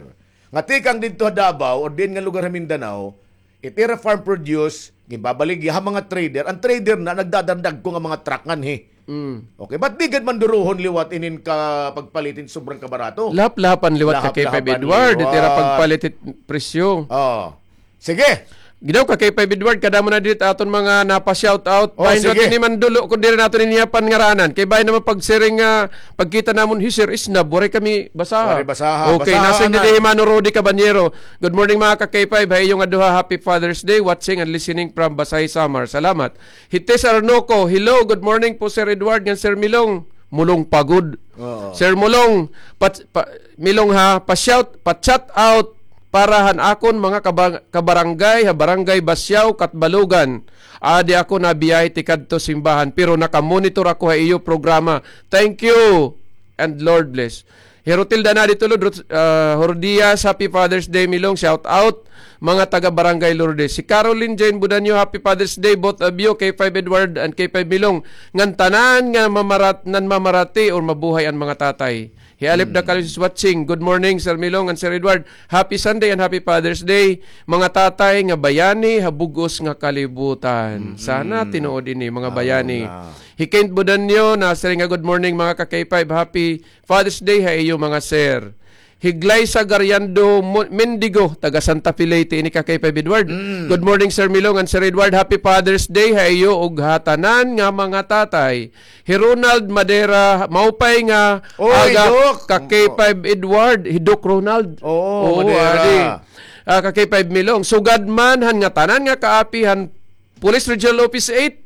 Nga tikang didto ha Davao, or diin nga lugar ha Mindanao, it ira farm produce, ginbabaligya ha mga trader, an trader na nagdadagdag ko nga mga truck nganhi. Mm. Okay, ba't di gad man duruhon liwat inin ka pagpalit hin sobrang kabarato? Lahap-lahapan liwat ka Kay Five Lahap-lahapan Edward, it ira liwat. pagpalit hit presyo. Oo. Sige. Ginaw ka Kay Five Edward, kadamo na diri it aton mga napa-shout out. Oh, Bahin sige. Diri man dulo, kun diri naton ini pangaranan. Kay bahin naman pagsiring nga, pagkita namon, "Hi, Sir Isnab, waray kami basaha." Waray basaha. Okay, Basaha nasing na. diri hi Mano Rudy Cabanyero. Good morning, mga ka K five. Ha iyo nga duha, happy Father's Day. Watching and listening from Basahi, Samar. Salamat. Hi Tess Arnoco, "Hello, good morning po, Sir Edward ngan Sir Milong." Mulong pa gud. Oo. Sir Mulong, pa, pa, Milong ha, pa-shout, pa-chat out para han akon mga kaba-, kabarangay ha Barangay Basiao, Catbalogan. Adi ako nabiyahe tikadto simbahan, pero nakamonitor ako ha iyo programa. Thank you and Lord bless. Hi Rotilda Nadi Tulod, Rot-, ah, Hordias, happy Father's Day, Milong. Shout out, mga taga Barangay Lourdes. Hi Caroline Jane Budanyo, happy Father's Day, both of you, K five Edward and K five Milong. Ngan tanan nga mamarat-, nanmamarati or mabuhay an mga tatay. Hi Alip Hmm. Dakal is watching. Good morning, Sir Milong and Sir Edward. Happy Sunday and happy Father's Day, mga tatay nga bayani ha bug-os nga kalibutan. Mm-mm. Sana tinuod ini, mga Aw bayani. nga. Hi Kent Budanyo, nasiring nga, "Good morning, mga ka K five. Happy Father's Day ha iyo, mga sir." Hi Glyza Gariando Mo-, Mendigo, taga Santa Fe, Leyte, ini ka K five Edward. Mm. "Good morning, Sir Milong and Sir Edward. Happy Father's Day ha iyo ug ha tanan nga mga tatay." Hi Ronald Madera, maupay nga Oy, aga Doc. ka K five Edward. Hi Doc Ronald. Oo, Oo, Madera. adi. Ah, ka K five Milong. Sugad man han ngatanan nga kaapi han Police Regional Office eight,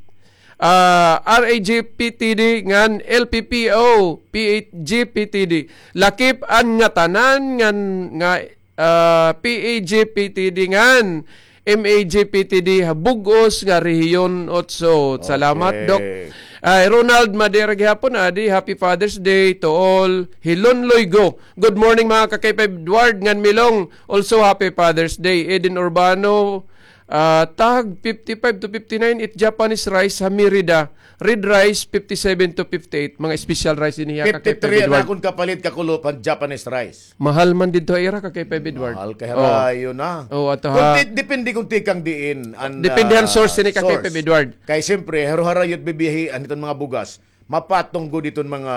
ah, R A G P T D ngan L P P O, P H G P T D. Lakip an ngatanan ngan nga, ah, P A G P T D ngan M A G P T D ha bug-os nga Rehiyon Otso. Salamat, Okay. Doc. Ay, Ronald Madera gihapon, adi, happy Father's Day to all. Hi Lon Loigo, "Good morning, mga ka K five Edward ngan Milong. Also, happy Father's Day." Eden Urbano, Ah, tag fifty-five to fifty-nine it Japanese rice ha Merida. Red rice, fifty-seven to fifty-eight. Mga special rice ini hiya ka K five Edward. Fifty-three an akon kapalit kakulop han Japanese rice. Mahal man didto ha ira ka K five Edward. Mahal kay harayo na. Oh, ato Kung ha. ti-, depende kung tikang diin an, Depende han ah, source ini ka K five source. Edward. Kay siyempre, haro-harayo it bibiyahian hiton mga bugas. mapatong gud iton mga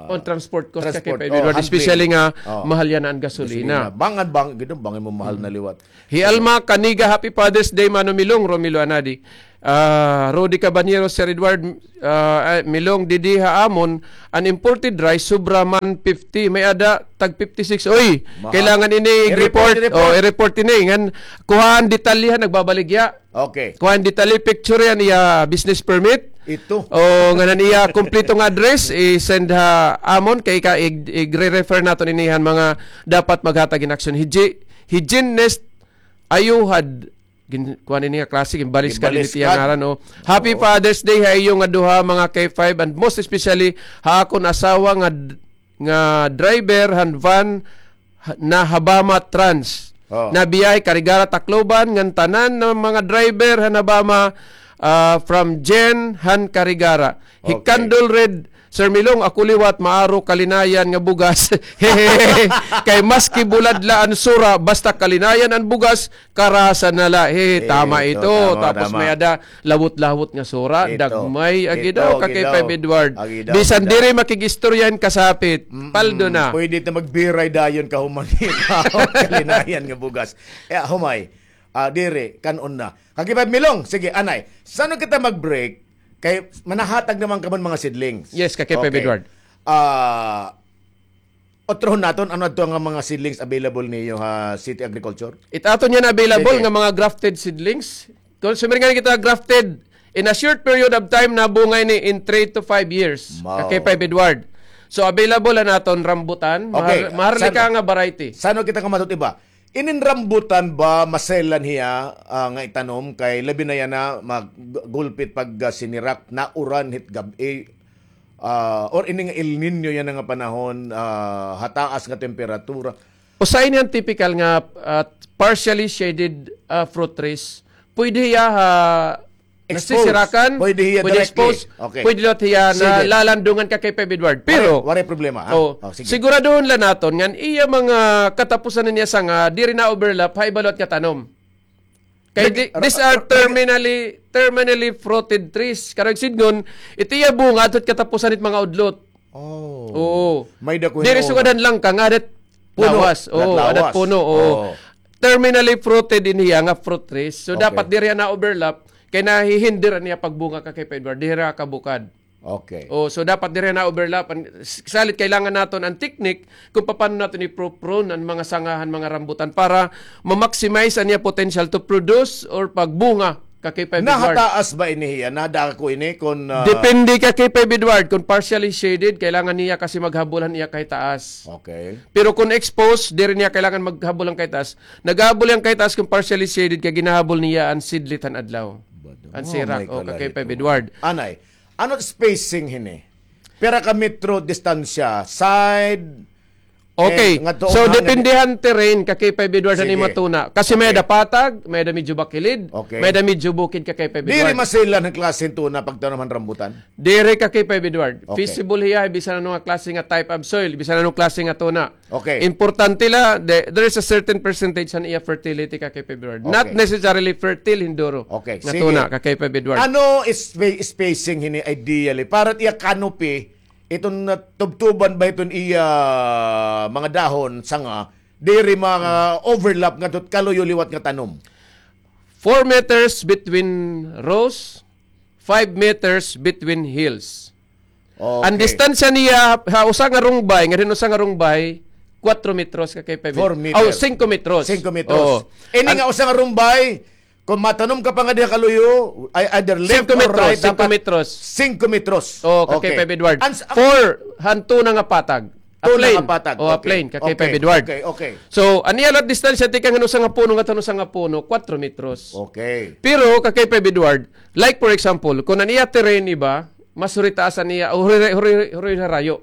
On transport cost ka kay transport, Pay oh, Edward, handling. Especially nga Oh. mahal yana an gasolina. Gasolina. Bangan, bang, gid, bangin mo mahal na liwat. Hi Alma Caniga, happy Father's Day, Mano Milong, Romilo Anadi. Ah, Rudy Cabanero, Sir Edward, ah, ah, Milong, didi ha amon, an imported rice, sobra man fifty. May-ada, tag fifty-six. Oy, Mahal. kailangan ini I-report, i-report. Oh, i-report ini. Ngan, kuhaan detalye ha, nagbabaligya. Okay. Kuhaan detalye, picture yana iya business permit. Ito. O, ngan an iya kompleto nga address, i-send ha amon, kay ka, ig-, igre-refer naton ini han mga dapat maghatag hin aksyon. Hiji-, Hygienist Ayuhad, gin-, kuhaan ini nga klase, ginbalis ka Ginbalis din iti ka. ngaran, o. Happy Oo. Father's Day ha iyo nga duha, mga K five, and most especially ha akon asawa nga d-, nga driver han van ha-, na Habama Trans. Oh. Na biyahe Carigara, Tacloban, ngan tanan nga mga driver han Habama, ah, from Jen han Carigara. Hi Okay. Candle Red, Sir Milong, ako liwat, maaro kalinayan nga bugas. Kay maski bulad la an sura, basta kalinayan an bugas, karasa na la. He, Eh, tama ito, ito. tama, Tapos tama. may-ada lawot-lawot nga sura, Ito. dagmay, agi Ito, daw, ka kay agi daw. Five Edward. Agi daw, Bisan agi daw. diri makig-istorya hin kasapit, Mm-mm. paldo na. Pwede na magbiray dayon kahuman ito. Kalinayan nga bugas. Eh, humay. Ah, diri, kan-on na. Ka kay Five Milong, sige, anay. San-o kita mag-break? Kay manahatag naman ka man mga seedlings. Yes, ka kay Five Okay. Edward. Ah, Otrohon naton, ano adto nga mga seedlings available niyo ha City Agriculture? It aton yana available Sige. nga mga grafted seedlings. Kung sumiringan kita grafted, in a short period of time, nabunga ini in three to five years. Wow. Ka kay Five Edward. So, available an aton rambutan. Okay. Mahar-, maharlika San-, nga variety. San-o kita nga matut-, iba? Inin rambutan ba, maselan hiya, ah, nga itanom kay labi na yana mag-, gulpit pag, ah, sinirak, nauran hit gab-i, ah, or ini nga El Niño yana nga panahon, ah, hataas nga temperatura. Usa ini an typical nga, ah, partially shaded, ah, fruit trees. Pwede hiya ha Exposed. nasisirakan, Pwede hiya pwede directly. exposed, Okay. pwede liwat hiya Sige. nalalandungan ka kay Five Edward. Pero, Waray, waray problema, ha? oh, Oh, sige. siguraduhon la naton ngan iya mga katapusan niya sanga diri na-overlap ha iba liwat nga tanom. Kay Nag-, di-, ra-, these are ra-, terminally, terminally fruited trees. Karuyag sidngon, it iya bunga adto hit katapusan hit mga udlot. Oh. Oo. May dako Diri hinuon. sugad han langka nga adat Puno. lawas. Adat Oo, adat lawas. puno, oo. Oo. Terminally fruited ini hiya nga fruit trees. So, Okay. dapat diri na-overlap, kay nahihinder an iya pagbunga ka kay Five Edward. Diri kabukad. Okay. Oh, so dapat diri na-overlap. An, s-, salit kailangan naton an technique kung paano naton i-pro-prune an mga sanga han mga rambutan para ma-maximize an iya potential to produce or pagbunga ka kay Five Edward. Nahataas ba ini hiya? Nadako ini kun, ah, Depende ka kay Five Edward. Kung partially shaded, kailangan niya kasi maghabol han iya kahitaas. Okay. Pero kung exposed, diri niya kailangan maghabol han kahitaas. Naghabol iya han kahitaas kung partially shaded kay ginahabol niya an seedlit han adlaw. Bado. An Oh, sirak, may o, ka kay kalito. Five Edward. Anay, ano spacing hini? Pira ka metro distansya? Side? Okay. Eh, ngadto So, hangin. depende han terrain ka kay Five Edward han Sige. imo tuna. Kasi may Okay. ada patag, may ada medyo bakilid, Okay. may ada medyo bukid ka kay Five Diri Edward. maselan han klase hin tuna pagtanom han rambutan? Diri ka kay Five Edward. Okay. Feasible hiya, bisan ano nga klase nga type of soil, bisan ano klase nga tuna. Okay. Importante la, the-, there is a certain percentage han iya fertility ka kay Five Edward. Not Okay. necessarily fertile hinduro Okay, nga sige. tuna ka kay Five Edward. Ano is spa-, spacing hini ideally? Para iya canopy, iton, uh, tubtuban ba iton iya mga dahon, sanga, diri mga overlap ngadto hit kaluyo liwat nga tanom? Four meters between rows, five meters between hills. Okay. An distansya niya ha usa nga rungbay, ngadto han usa nga rungbay, kuwatro metros ka kay Five Edward. Four meters. Oh, singko metros. Singko metros. Oo. Ini An nga usa nga rungbay, kung matanom ka pa nga diha kaluyo, ay, either left Singko or metros, right, singko dapat metros. singko metros. Oh, ka kay Okay. Five Edward. An s-, Four, han tuna nga patag. A Tuna plain. nga patag. Oh, a Okay. plain, ka kay Okay. Five Edward. Okay, okay. So, an iya liwat distansya, tikang han usa nga puno, ngadto han usa nga puno, kuwatro metros. Okay. Pero, ka kay Five Edward, like for example, kung an iya terrain iba, mas huri taas an iya, huri, huri, huri harayo.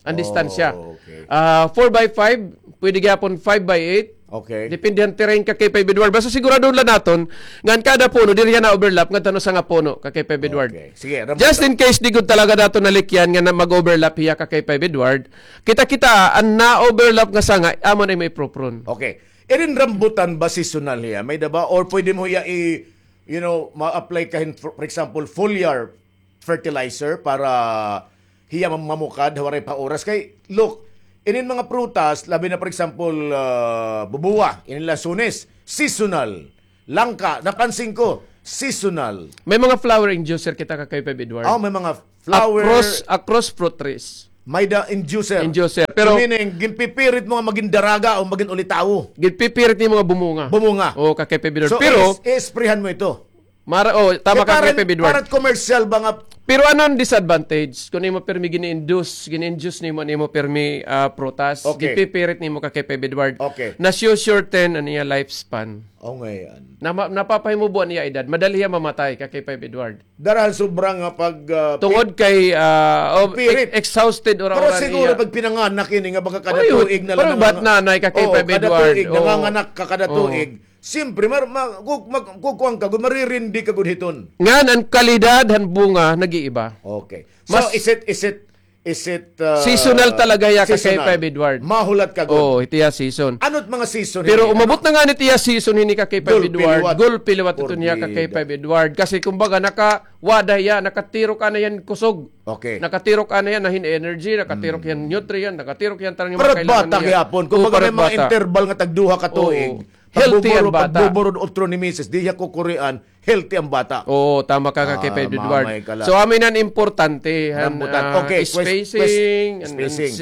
An distansya. Oh, okay. Ah, four by five, pwede gihapon five by eight. Okay. Depende han terrain ka kay Five Edward. Basta siguraduhon la naton, ngan kada puno, diri hiya na-overlap, ngadto han usa nga puno, ka kay Five Edward. Okay. Sige, rambutan. Just in case, di gud talaga naton nalikyan nga na mag-overlap hiya ka kay Five Edward. Kita-kita, an na-overlap nga sanga, amo na may pro-prune. Okay. Irin rambutan ba seasonal hiya? May-ada ba? Or pwede mo hiya i-, you know, ma-apply ka hin, for, for example, foliar fertilizer para hiya mam-, mamukad ha waray pa oras. Kay, look, inin mga prutas, labi na, for example, ah, bubuwa, inin lasunes, seasonal. Langka, napansin ko, seasonal. May mga flower inducer kita, Kakay Feb Edward. Oh, may mga flower. Across, across fruit trees. May da inducer. Inducer. Pero so, meaning, ginpipirit mo nga maging daraga o maging ulitawo. Ginpipirit nimo nga bumunga. Bumunga. Oo, Kakay Feb Edward. So, pero is-, i-sprayhan mo ito. Mara, oh, tama ka, Kakay Feb Edward. Para commercial ba nga? Pero ano an disadvantage? Kung imo permi gini-induce, gini-induce nimo, nimo permi, ah, prutas, okay, gipipirit nimo, Kakay Feb Edward. Okay. Na sure, shorten an iya lifespan. Oh, ngayon. Na ma-, napapahimubo an iya edad. Madali hiya mamatay, Kakay Feb Edward. Darahan sobra nga pag, ah, tungod kay, ah, oh, pirit. Ex-, exhausted, ura-ura niya. Pero siguro pag pinanganak ini nga baga kada tuig na lang. Pero bat nanay, Kakay Feb Edward. Oo, kada tuig, nanganganak ka kada tuig. Siyempre, mar-, ma-, ku-, mag-, kukuan ka gud, maririndi ka gud hiton. Ngan an kalidad han bunga nag-iiba. Okay. So, is it, is it, is it, uh, seasonal talaga hiya, Kakay Feb Edward. Mahulat ka gud. Oo, it iya season. Ano it mga season? Pero umabot na ngani it iya season hini, Kakay Feb Edward. Gulpi liwat. Gulpi liwat ito niya, Kakay Feb Edward. Kasi kumbaga, nakawada hiya, nakatirok anay han kusog. Okay. Nakatirok anay han, hin energy, nakatirok han nutrient, nakatirok han tanan nga mga kailangan niya. Pero bata gihapon. Kumbaga, may mga interval nga tagduha ka tuig. Oo. Healthy an bata. Pagbuburod, pagbuburod utro ni misis, di hiya kukurian, healthy an bata. Oo, tama ka, Kakay Feb Edward. So, amo ini an importante, han, ah, spacing, an,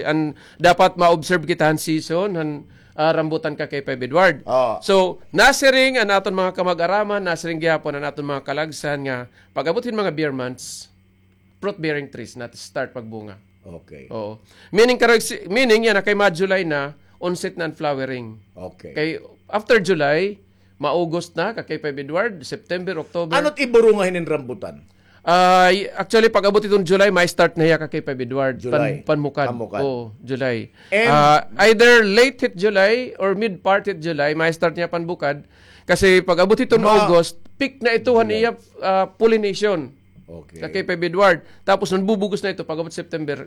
an, dapat ma-observe kita han season, han, ah, rambutan, Kakay Feb Edward. Oo. So, nasiring an aton mga kamag-araman, nasiring gihapon an aton mga kalagsan nga pag-abot hin mga Ber months, fruit-bearing trees na start pagbunga. Okay. Oo. Meaning, karag si-, meaning yana kay ma-July na, onset na an flowering. Okay. Kay after July, ma-August na, Kakay Feb Edward, September, October. Ano it iburunga hinin rambutan? Ah, y-, actually, pag-abot iton July, ma-start na hiya, Kakay Feb Edward. July. Pan-, panmukad. Panmukad. Oo, July. And ah, either late hit July or mid part hit July, ma-start niya panbukad. Kasi pag-abot hiton August, peak na ito han iya, ah, pollination. Okay. Kakay Feb Edward. Tapos nanbubugos na ito pag-abot September,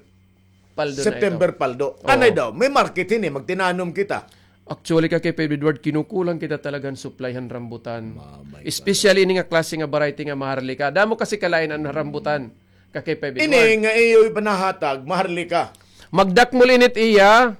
paldo na ito. September paldo. Oo. Anay daw, may market hini, magtinanom kita. Actually, Kakay Feb Edward, kinukulang kita talaga han supply han rambutan. Especially ini nga klase nga variety nga maharlika. Damo kasi kalain an rambutan, Kakay Feb Edward. Ini nga iyo ipanahatag, maharlika. Magdakmol ini it iya,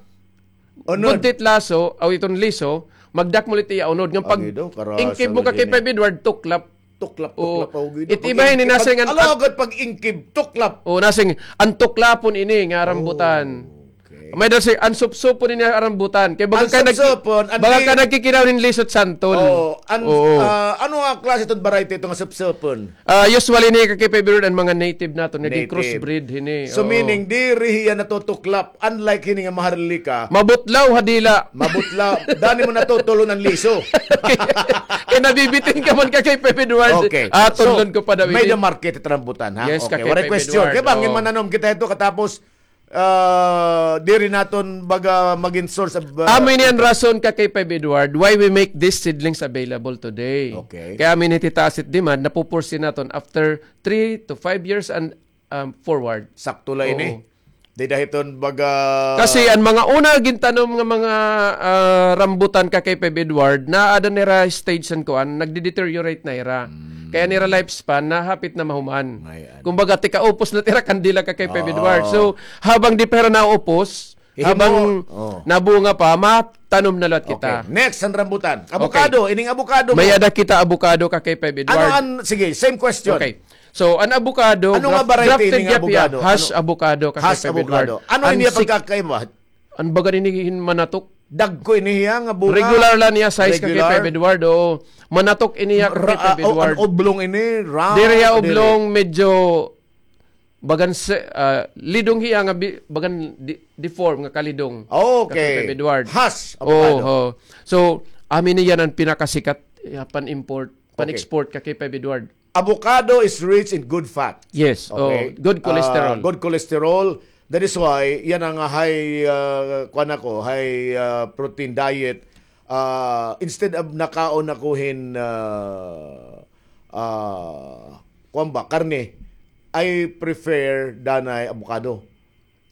unod. Budtit laso, aw iton liso, magdakmol it iya unod. Ngan pag-ingkib mo, Kakay Feb Edward, tuklap. Tuklap, tuklap. Oo. It iba ini nasing an, alagad pag-ingkib, tuklap. Oo, nasing an tuklapon ini nga rambutan. Okay. May dal si, an supsupon ini nga rambutan. Kay baga ka nag-, baga ka nagkikinaw hin liso it santol. Oo. An, ah, ano nga klase iton variety ito nga supsupon? Ah, usually ini, Kakay Feb Edward, an mga native naton, naging crossbreed hini. So, meaning, diri hiya natutuklap. Unlike hini nga maharlika. Mabutlaw ha dila. Mabutlaw. Dani mo natutulon an liso. Kay nabibitin ka man, Kakay Feb Edward. Okay. Ah, so, tudlon ko pa daw ini. May the market it rambutan, ha? Yes, okay, Kakay Feb Edward. Waray question. Kay bangin mananom kita ito katapos, ah, diri naton baga magin source of, ah, amo ini an rason, Kakay Feb Edward, why we make these seedlings available today. Okay. Kay amo ini titaas it demand, napupursige naton after three to five years and um, forward. Sakto la ini. Oo. Dida hiton baga. Kasi an mga una gintanom nga mga, ah, rambutan, Kakay Feb Edward, naada nira stage san kuan, nagde-deteriorate na ira. Kaya nira lifespan na hapit na mahuman. Kumbaga, tikaupos na tira kandila, Kakay Feb Edward. So, habang di pa hira naupos, habang nabunga pa, matanom na liwat kita. Okay. Next, an rambutan. Avocado, ining avocado mo. May-ada kita avocado, Kakay Feb Edward. Ano an, sige, same question. Okay. So, an avocado, ano nga variety ini nga avocado? Hass avocado, Kakay Feb Edward. Ano ini pagkakaiba? An baga ini hin manatok. Dagko ini hiya nga bunga. Regular la niya size, Kakay Feb Edward. Oo. Manatok ini hiya, Kakay Feb Edward. An oblong ini, round. Diri hiya oblong, medyo bagan se-, ah, lidong hiya nga bi-, bagan di-, deform nga kalidong. Okay. Kakay Feb Edward. Hass avocado. Oo. So, amo ini yana an pinakasikat, ah, pan-import, pan-export, Kakay Feb Edward. Avocado is rich in good fat. Yes, oh, good cholesterol. Ah, good cholesterol. That is why, yana nga high, ah, kuan ako, high, ah, protein diet. Ah, instead of nakaon ako hin, ah, ah, kuan ba, karne, I prefer danay avocado.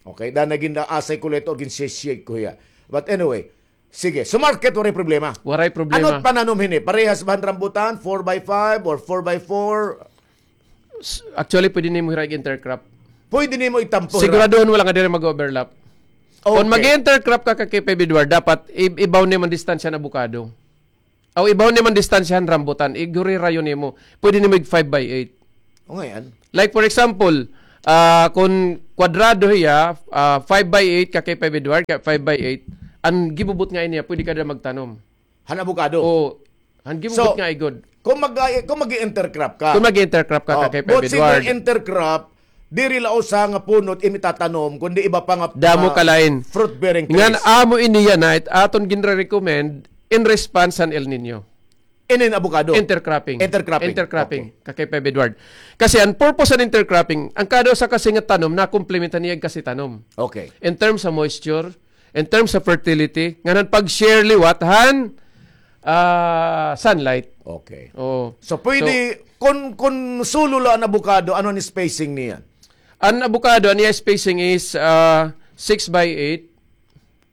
Okay, danay gin-aasay ko la ito, gin-shake ko hiya. But anyway, sige, so market, waray problema. Waray problema. Ano it pananom hini? Parehas ba han rambutan, four by five or four by four? S- Actually, pwede nimo hira intercrop. Pwede nimo itampo hira. Siguraduhon mo lang nga diri mag-overlap. Kon Okay. mag-intercrop ka, Ka K five Edward, dapat i- ibaw nimo an distansya han abukado. Aw, ibaw nimo an distansya han rambutan, igurirayo nimo. Pwede nimo ig five by eight. O, ngay-an. Like, for example, ah, kon kwadrado hiya, ah, five by eight, Ka K five Edward, ka five by eight, an gibubutnga niya, pwede ka dida magtanom. Han abukado? O, han gibubutnga igud. Kon mag-, kon mag-i-intercrop ka. Kon mag-intercrop ka, O, Ka K five Edward. But single intercrop, diri la usa nga puno it imo itatanom, kundi iba pa nga, Damo ah, ka lain. fruit-bearing trees. Ngan amo ini yana, it aton ginre-recommend in response han El Nino. Inin abukado? Intercropping. Intercropping. Intercropping, Okay. Ka K five Edward. Kasi an purpose han intercropping, an kada usa kasi nga tanom, nakomplementan niya kasi tanom. Okay. In terms of moisture, in terms of fertility, ngan han pag-share liwat han, ah, sunlight. Okay. Oo. So, pwede, So, kon, kon sulo la an abukado, ano an spacing niya? An abukado, an iya spacing is, ah, six by eight.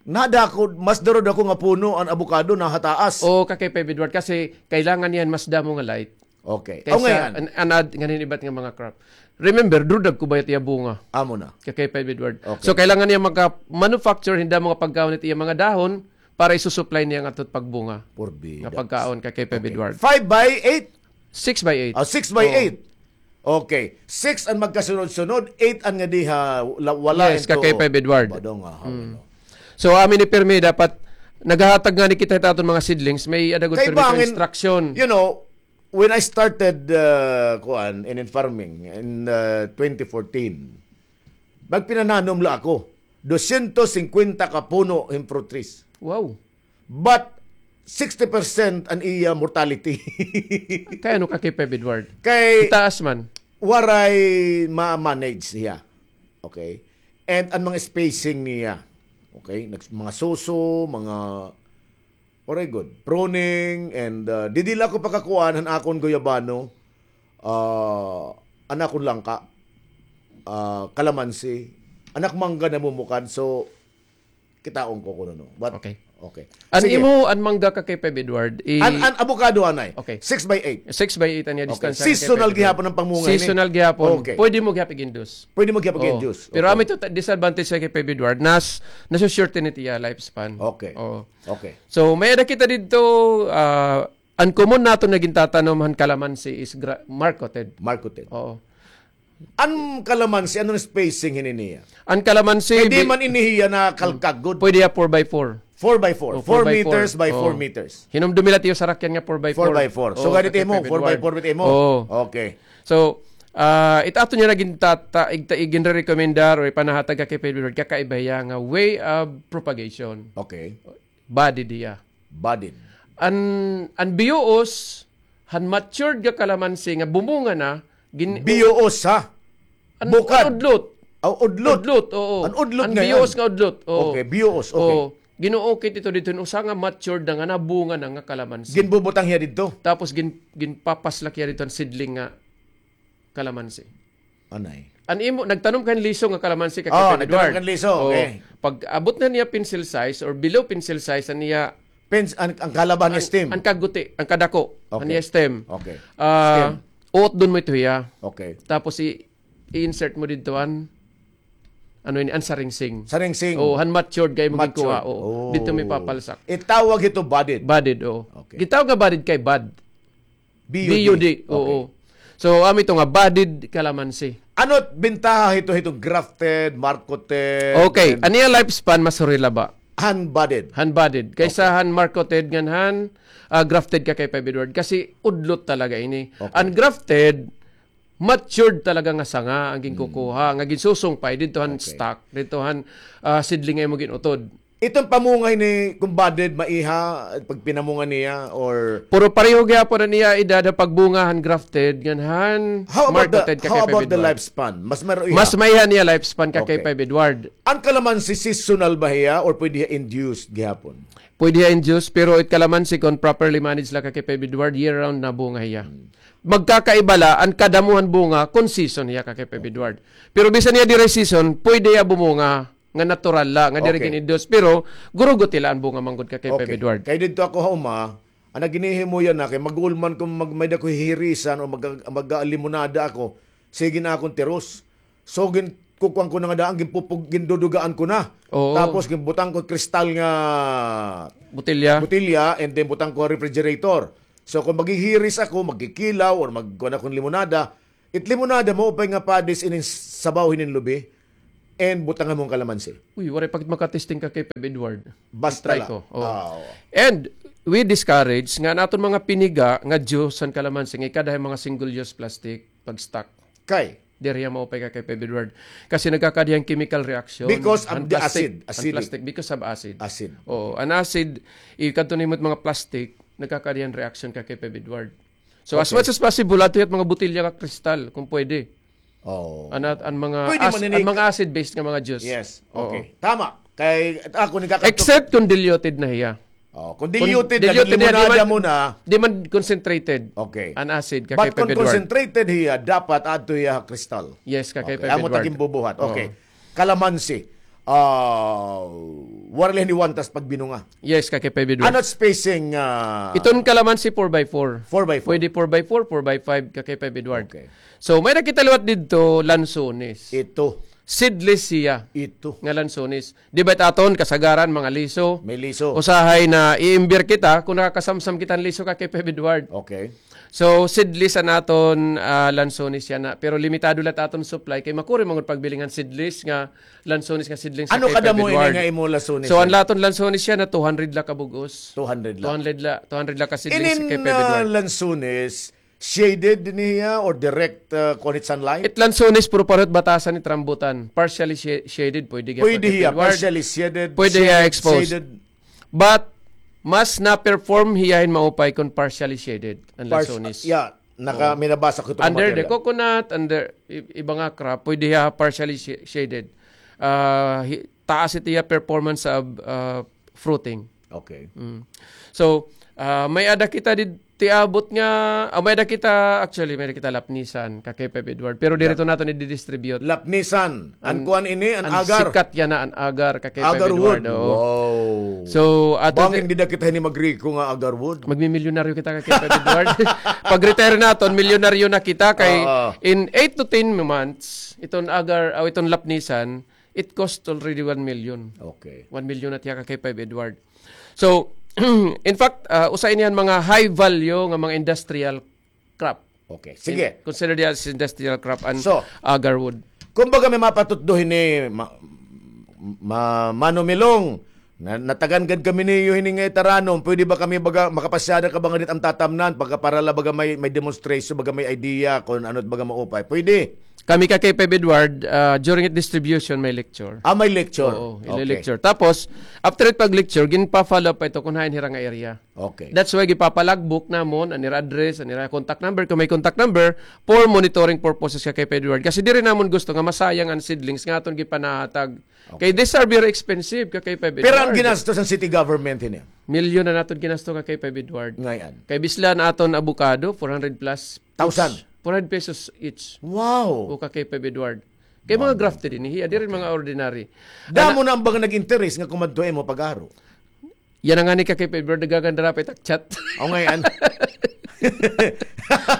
Nadako, mas duro-dako nga puno an abukado na ha taas. Oo, Ka K five Edward, kasi kailangan niya mas damo nga light. Okay. Kaysa Aw, ngay-an. an-, anad, ngan hin iba nga mga crop. Remember, duro-dagko ba it iya bunga? Amo na. Ka K five Edward. Okay. So, kailangan niya maka-manufacture hin damo nga pagkaon it iya mga dahon para isusupply niya an aton pagbunga. Porbida. Nga pagkaon, Ka K five Okay. Edward. Five by eight? Six by eight. Ah, six by eight. Oo. Okay. Six an magkasunod-sunod, eight an nga diha, la-, wala Yes, into Ka K five Edward. Badong, ah, Mm. ano. So, amo ini pirmi, dapat naghahatag ngani kita hit aton mga seedlings, may-ada gud Kay pirmi ka bangin, instruction. you know, when I started, uh, kuan, in, in farming in, uh, twenty fourteen, magpinananom la ako. Dosyentos singkwenta ka puno hin fruit trees. Wow. But sixty percent an iya mortality. Kay ano, Ka K five Edward? Kay Itaas man. waray ma-manage niya. Okay? And an mga spacing niya. Okay? Nags-, mga suso, mga, waray gud. Pruning, and, uh, didi la ako pakakuan han akon guyabano, uh, an akon langka, uh, kalamansi, an ak mangga namumukad. So, kitaon ko kuno, no? But, Okay. okay. An Sige. imo, an mangga, Ka K five Edward, i- An, an abukado anay. Okay. Six by eight. Six by eight an iya Okay. distansya, Ka K five Edward. Seasonal gihapon an pamunga ini. Seasonal gihapon. Okay. Pwede mo gihap ig-induce. Pwede mo gihap Oo. ig-induce. Pero Okay. amo ito ta-, disadvantage, Ka K five Edward, nas-, nasusurety it iya lifespan. Okay. Oo. Okay. So, may-ada kita didto, ah, an common naton nga gintatanom han kalamansi is gra-, marketed. Marketed. Oo. An kalamansi, ano an spacing hini niya? An kalamansi, Kay di bi- man ini hiya nakalkag gud. Pwede hiya four by four. Four by four. Oh, Four four by four. meters by four Oh. meters. Hinumdumi la it iyo sarakyan nga four by four. Four by four. So, Oh, ganito Ka K five Edward. mo, four by four bit imo? Oh. Okay. So, ah, it aton niya naging tata-, ig-, ig-, ginre-recommendar o ipanahatag, Ka K five Edward, kakaiba hiya nga way of propagation. Okay. Budded hiya. Budded. An, an biyuos, han matured nga kalamansi nga bumunga na, gin- Biyuos, ha? An, Bukad. an udlot. Aw, udlot. Udlot, oo. An udlot An nga biyuos yan. nga udlot, oo. Okay, biyuos, okay. Oo. Ginuukit ito didto, usa nga matured na nga nabunga na nga kalamansi. Ginbubutang hiya didto? Tapos gin-, ginpapaslak hiya didto an seedling nga kalamansi. Anay. An imo, nagtanom ka hin liso nga kalamansi, Ka Oh, K five nagtanom Edward. ka hin liso, Oo. okay. Pag abot na niya pencil size or below pencil size, an iya Pens-, an, an kalaban niya an, stem. an kaguti, an kadako, Okay. an iya stem. Okay. Ah, Stem. uotdon mo ito hiya. Okay. Tapos i-, i-insert mo didto an, ano ini, an saringsing. Saringsing. Oo, han matured kay mo Matured. gikuha, oo. Oh. Didto mo ipapalsak. Itawag ito budded. Budded, oo. Okay. Gitawag nga budded kay bud. B U D. B U D, oo. Okay. So, amo ito nga, budded kalamansi. Ano it bintaha hito, hito grafted, marketed, Okay, and an iya lifespan mas huri la ba? Han budded. Han budded. Kaysa Okay. han marketed ngan han, ah, grafted, Ka K five Edward. Kasi udlot talaga ini. Okay. An grafted, matured talaga nga sanga an ginkukuha, Hmm. nga ginsusungpay didto han Okay. stock, didto han, ah, seedling nga imo gin-utod. Iton pamunga ini, kon budded, maiha, pag pinamunga niya, or Pero pareho gihapon an iya edad ha pagbunga han grafted, ngan han How about the, marketed, Ka K five Edward. how about the lifespan? Mas maiha? Mas maiha an iya lifespan, Ka K five Edward. Okay. An kalamansi, seasonal ba hiya, or pwede hiya induced gihapon? Pwede hiya induced, pero it kalamansi, kon properly managed la, Ka K five Edward, year-round nabunga hiya. Hmm. Magkakaiba la, an kadamo han bunga, kon season hiya, Ka K five Edward. Pero bisan hiya diri season, pwede hiya bumunga. Nga natural la, nga diri Okay. gin-induce. Pero, guruguti la an bunga man gud, Ka K five Okay. Edward. Kay didto ako ha uma, an ginhihimo yana kay mag-uol man kon mag-, may-ada ko hihirisan o mag-, mag-limonada ako, Sige na akon tiros. So, gin-, kukuan ko na nga daan, ginpupug-, gindudugaan ko na. Oo. Tapos, ginbutang ko kristal nga Botilya. botilya, and then butang ko refrigerator. So, kung maghihiris ako, magkikilaw, or magkuan akon limonada, it limonada mo, upay nga padis inin sabaw hinin lubi, and butangan mo an kalamansi. Uy, waray pa gid makatesting ka kay Peb Edward. Basta I-try la. ko. Oo. Ah, oo. And we discourage nga an aton mga piniga nga juice han kalamansi, nga ikada han mga single-use plastic, pag-stock. Kay? Diri hiya maupay ka kay Peb Edward. Kasi nagkakada hiya hin chemical reaction. Because of the acid, acidic. An plastic, because of acid. Acid. Oo, an acid, ikadto nimo it mga plastic, nagkakada hiya hin reaction ka kay Peb Edward. So, as Okay. much as possible, adto hiya it mga botilya nga kristal, kung pwede. Oo. An, an mga Pwede ac-, maninig- an mga acid-based nga mga juice. Yes. Oo. Okay. Tama. Kay, ako, nagkakadto- Except kung diluted na hiya. Oh, kung Kung diluted na, diluted na, di limonada man, mo na. di man concentrated. Okay. An acid, But kakay kung Peb Edward. concentrated hiya, dapat adto hiya ha kristal. Yes, kakay Okay. Peb Amo ta Edward. ginbubuhat. Oo. Okay. Kalamansi. Ah, waray la hini wantas pagbinunga. Yes, kakay Peb Edward. Ano spacing, ah, Iton kalamansi four by four. Four by four. Pwede four by four, four by five, kakay Peb Edward. Okay. So, may-ada kita liwat didto, lansones. Ito. Seedless siya Ito. nga lansones. Di ba it aton, kasagaran, mga liso? May liso. Usahay na i-imber kita kung nakakasamsam kita hin liso, kakay Peb Edward. Okay. So, seedless an aton, ah, lansones yana. Pero limitado la it aton supply kay makuri man gud pagbili ngan seedless nga lansones nga seedlings, Ano kakay Peb Edward. Ano kadamo ini nga imo lansones So, an yana? aton lansones yana, two hundred la ka bug-os. Two hundred la. Two hundred la, two hundred la ka seedlings, Inin, kakay Peb ah, Edward. lansones, shaded dinhi hiya or direct, ah, kuan it sunlight? It lansones, puro pareho it batasan, it rambutan. Partially sha-, shaded, pwede hiya, Pwede kakay Peb hiya, Edward. partially shaded, Pwede hiya shaded, exposed. shaded. But, mas na-perform hiya hin maupay kon partially shaded, an Pars-, lansones. yeah, naka-, Oo. may nabasa ko ito Under the mga coconut, under i-, iba nga crop, pwede hiya partially sh-, shaded. Ah, hi-, taas it iya performance of, ah, fruiting. Okay. Mm. So, ah, may-ada kita didto tiabot nga, ah, may-ada kita, actually, may-ada kita lapnisan, kakay Peb Edward. Pero diri Lap-, ito naton i-distribute. lapnisan. An An, kuan ini, an an agar. sikat yana, an agar, kakay Peb Edward, Agarwood. oo. Wow. So, ato Bangin ti- dida kita hini magriko nga agarwood. Magmimilyonaryo kita, kakay Peb Edward. Pag-retire naton, milyonaryo na kita kay Oo. in eight to ten months, iton agar, aw, iton lapnisan, it cost already one million. Okay. One million na tiya, kakay Peb Edward. So, in fact, ah, usa ini han mga high value nga mga industrial crop. Okay. Sige. In-, consider diya as industrial crop an So, agarwood. kumbaga may mapatutdo hini, ma-, ma-, Mano Milong, na-, natagan gad kami niyo hini nga itaranom. Pwede ba kami baga, makapasyada ka ba nga dit am tatamnan? Pagka para la baga may, may demonstration, baga may idea kung ano it baga maupay. Pwede. Kami, kakay Peb Edward, ah, during it distribution, may lecture. Ah, may lecture. Oo, Okay. lecture. Tapos, after it pag-lecture, ginpa-follow up pa ito kung hain hira nga area. Okay. That's why gipapalagbook namon an ira address, an ira contact number, kung may contact number, for monitoring purposes, kakay Peb Edward. Kasi diri namon gusto nga masayang an seedlings nga aton gipanahatag. Okay. Kay these are very expensive, kakay Peb Edward. Pero an ginastos an city government hini? Milyon an aton ginasto, kakay Peb Edward. Ngay-an. Kay bisla an aton avocado, four hundred plus Thousand? each. Four hundred pesos each. Wow. O, kakay Peb Edward. Kay mga Wow. grafted ini, hiya, diri Okay. mga ordinary. Damo Ana- na an baga nag-interes nga kumadto imo pag-aro. Yana ngani, kakay Peb Edward, nagagandara pa it ak chat. O, ngay-an.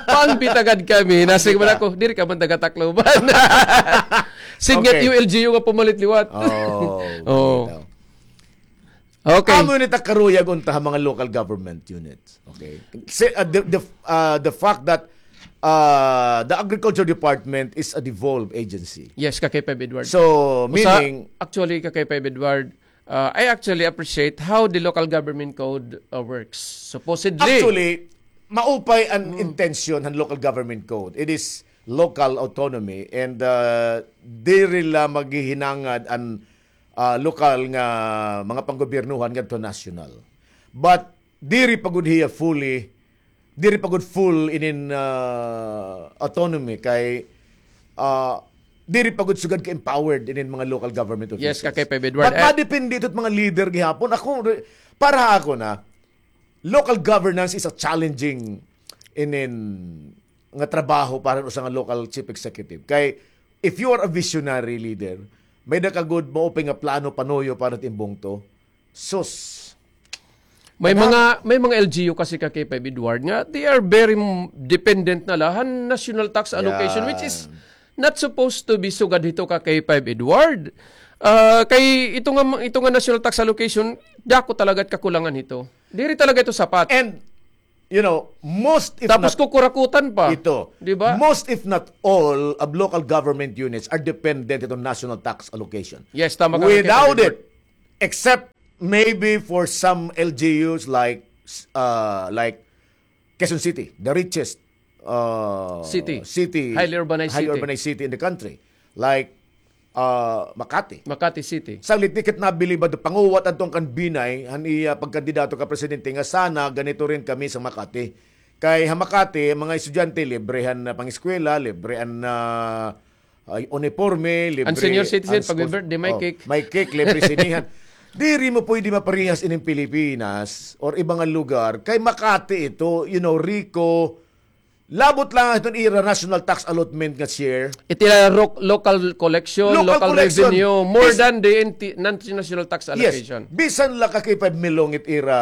Pangbitagad kami, nasig man Pangbita. ako, diri ka man taga-Tacloban. Sige, Okay. U L G U nga pumalit liwat. Oh, Oo. bitaw. Okay. Amo ini ta karuyag unta ha mga local government units. Okay. Si, uh, the, the, uh, the fact that, uh, the agriculture department is a devolved agency. Yes, kakay Peb Edward. So, Usa, meaning actually, kakay Peb Edward, Uh, I actually appreciate how the local government code, uh, works. Supposedly, Actually, maupay an Hmm. intensyon han local government code. It is local autonomy and, uh, diri la maghihinangad an, uh, lokal nga mga panggobyernohan ngadto national. But diri pa gud hiya fully diri pa gud full inin, ah, autonomy kay, ah, diri pa gud sugad ka-empowered inin mga local government Yes, officials. Kakay Peb Edward. But Eh, madepende ito mga leader gihapon. Ako, re-, para ha ako na, local governance is a challenging inin nga trabaho para usa nga local chief executive. Kay, if you are a visionary leader, may-ada ka gud maupay nga plano panuyo para it im bungto. Sus. May mga, may mga L G U kasi ka K five Edward nga, they are very m-, dependent na la han national tax allocation, which is not supposed to be sugad hito ka K five Edward. Ah, kay ito nga, ito nga national tax allocation, dako talaga it kakulangan hito. Diri talaga ito sapat. And, you know, most if Tapos not kukurakutan pa. Ito. Di ba? Most if not all of local government units are dependent ito national tax allocation. Yes, tama ka, Without K five Edward. It, except maybe for some L G Us like, uh, like Quezon City, the richest, uh, City. City, Highly urbanized highly city. Urbanized city in the country, like, uh, Makati. Makati City. Sanglit ni kit nabilib adto, panguwat adto kan Binay, han iya pagkandidato ka presidente nga sana ganito rin kami sa Makati. Kay ha Makati, mga estudyante, libre han, uh, pangeskwela, libre han, uh, ay, uniporme, libre An senior citizen, an school pag-birthday, may oh, cake. May cake, libre sinihan. Diri mo pwede maparehas ining Pilipinas or iba nga lugar. Kay Makati ito, you know, riko, labot la iton ira national tax allotment nga share. Iti la ro-, local collection, Local local collection. Revenue, more Bis- than the N T, national tax Yes. Allocation. Bisan la ka K five Milong it ira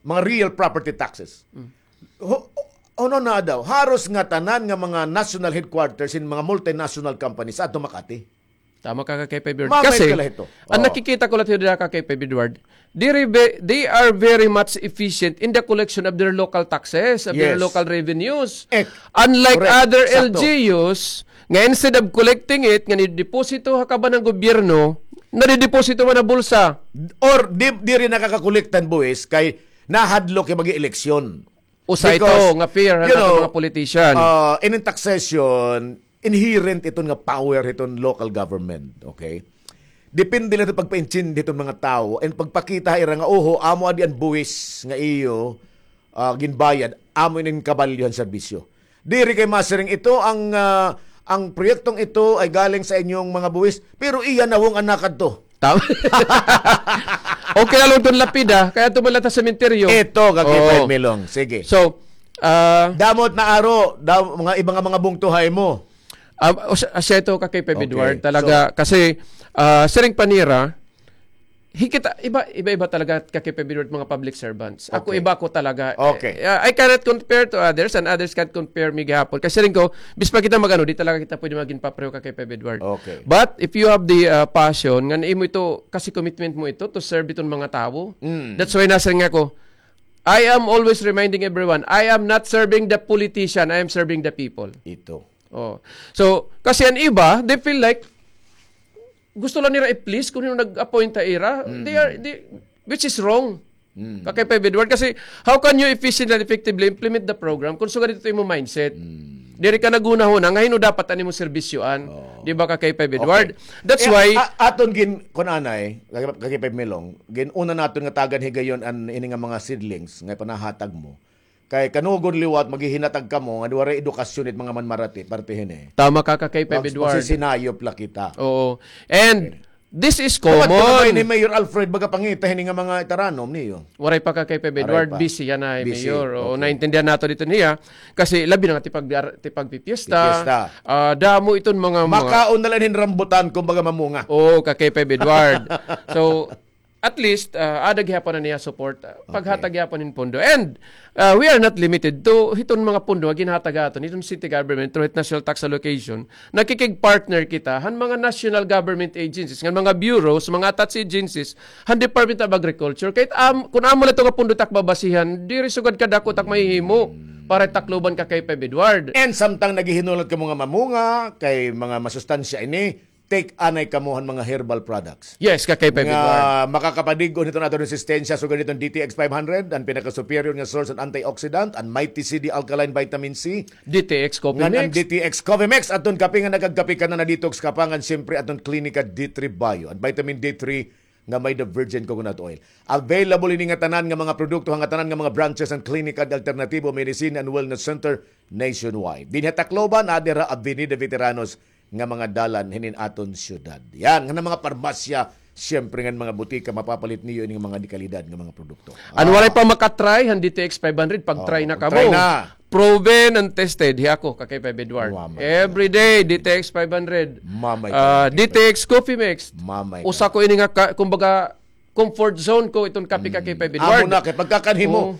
mga real property taxes. Mm. Ho-, ano na daw? Haros nga tanan nga mga national headquarters in mga multinational companies ato Makati. Tama ka, ka K five Edward. Mamay Kasi, ka la hito. Ang Oh. Nakikita ko la hito dira ka K five Edward, diri ve-, they are very much efficient in the collection of their local taxes, of their Yes. Local revenues. Eh, Unlike correct. Other Sakto. L G Us, nga instead of collecting it, nga nideposito ha kaban han gobyerno, nadideposito man ha bulsa. Or di, diri nakakakolektan buhis kay nahadlok kay mag-eleksyon. Usa ito Because, nga fear han you aton know, mga politician. Uh, in taxation, inherent iton nga power hiton local government, okay? Depende la ito pagpaintindi hiton mga tawo and pagpakita ha ira nga, oho, amo adi an buwis nga iyo, ah, ginbayad, amo ini an kabalyo han serbisyo. Diri kay masiring ito ang, ah, ang proyektong ito ay galing sa inyong mga buwis, pero iya nawong an nakadto. Tama. Okay la, lugton lapida, kay adto man la ta sementeryo. Ito, ka K five Oo. Milong. Sige. So, ah, Damo it naaro, da-, mga iba nga mga bungto ha imo. Ah, o siya, siya ito, ka K five Okay. Edward, talaga, So, kasi, ah, siring pa nira, hikit, iba, iba-iba talaga, ka K five Edward, mga public servants. Ako, Okay. Iba ko talaga. Okay. Eh, ah, I cannot compare to others, and others can't compare me gihapon. Kasi rin ko, bis pa kita mag-ano, di talaga kita pwede maging papreho ka K five Edward. Okay. But if you have the, uh, passion, nga imo ito, kasi commitment mo ito to serve iton mga tawo. Mm. That's why nasa nga ako, I am always reminding everyone, I am not serving the politician, I am serving the people. Ito. Oh. So, kasi an iba, they feel like, gusto lang nira i-please kun hin-o nag-appoint ha ira. Mm. They are, they, which is wrong. Mm. Ka K five Edward, kasi how can you efficiently and effectively implement the program kun sugad ito imo mindset? Mm. Diri ka naghunahuna nga hin-o dapat an imo serbisyoan. Oh. Di ba, ka K five Edward? Okay. That's Eh, why a-, aton gin-, kun anay, ka K five Milong, gin-una naton nga tagan higayon an ini nga mga seedlings nga panahatag mo. Kay kanugon liwat, maghihinatag kamo nga waray edukasyon it mga manmarati, parte hini. Tama ka, ka K five Edward. Magsisinayop la kita. Oo. And this is common. Dapat ko na ni Mayor Alfred, baga pangita hini nga mga itaranom niyo. Waray pa, ka K five Edward, busy yana, Mayor. Oo, naintindihan nato dito niya. Kasi labi na nga tipag-, tipagpipiesta. Pipiesta. Ah, damo iton mga, mga Makaon na lang hin rambutan, kumbaga mamunga. Oo, ka K five Edward. So, at least, ah, ada gihapon an iya support, ah, paghatag gihapon hin pondo. And, ah, we are not limited to hiton mga pondo nga ginhatag aton hiton city government through hit national tax allocation. Nakikig-partner kita han mga national government agencies, ngan mga bureaus, mga attached agencies, han Department of Agriculture. Kay am-, kun amo la ito nga pondo tak babasihan, diri sugad kadako tak mahihimo para Tacloban, ka K five Edward. And samtang naghihinulat kamo nga mamunga, kay mga masustansya ini, take anay kamo han mga herbal products. Yes, ka K five Edward. Nga makakapadig-on hiton aton resistensya, sugad hiton D T X five hundred, an pinaka-superior nga source han antioxidant, an Mighty C D Alkaline Vitamin C. D T X Coffee Mix. Ngan an D T X Coffee Mix, aton kape nga nagagkape ka na, na-detox ka pa, ngan siyempre aton Clinica D three Bio, an vitamin D three nga may the virgin coconut oil. Available ini nga tanan nga mga produkto ha ngatanan nga mga branches han Klinika Alternatibo Medicine and Wellness Center nationwide. Dinhi ha Tacloban, adi ha Avenida Veteranos nga mga dalan hinin aton syudad. Yan, nga mga parmasya, siyempre nga mga butika, mapapalit niyo ini nga mga dekalidad nga mga produkto. An waray pa maka-try han D T X five hundred, pag-try na kamo. Try na. Proven and tested. Hi ako, ka K five Edward. Every day, D T X five hundred. Mamay ka, D T X Coffee Mix. Mamay ka. Usa ko ini nga ka-, kumbaga, comfort zone ko iton kape ka K five Edward. Amo na kay pagkakanhi mo. Oo.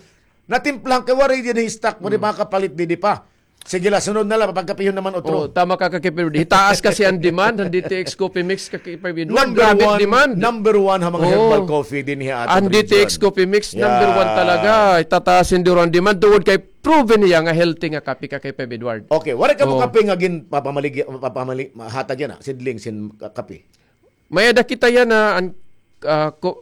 Natimplahan kay waray didi stock, waray makapalit didi pa. Sige la, sunod na la, papagkapihon naman otro. Oh, tama ka, ka K five Edward. Hitaas kasi an demand han D T X Coffee Mix ka K five Edward. Number one, grabe demand. Number one ha mga herbal coffee dinhi ha aton region. An D T X Coffee Mix, number one talaga. Itataas hin duro an demand. Tungod kay proven niya nga healthy nga kape ka K five Edward. Okay, waray kamo kape nga ginpapamali-, papamali-, mahatag yana, seedlings hin ka-, kape? May-ada kita yana, an, ah, ko-,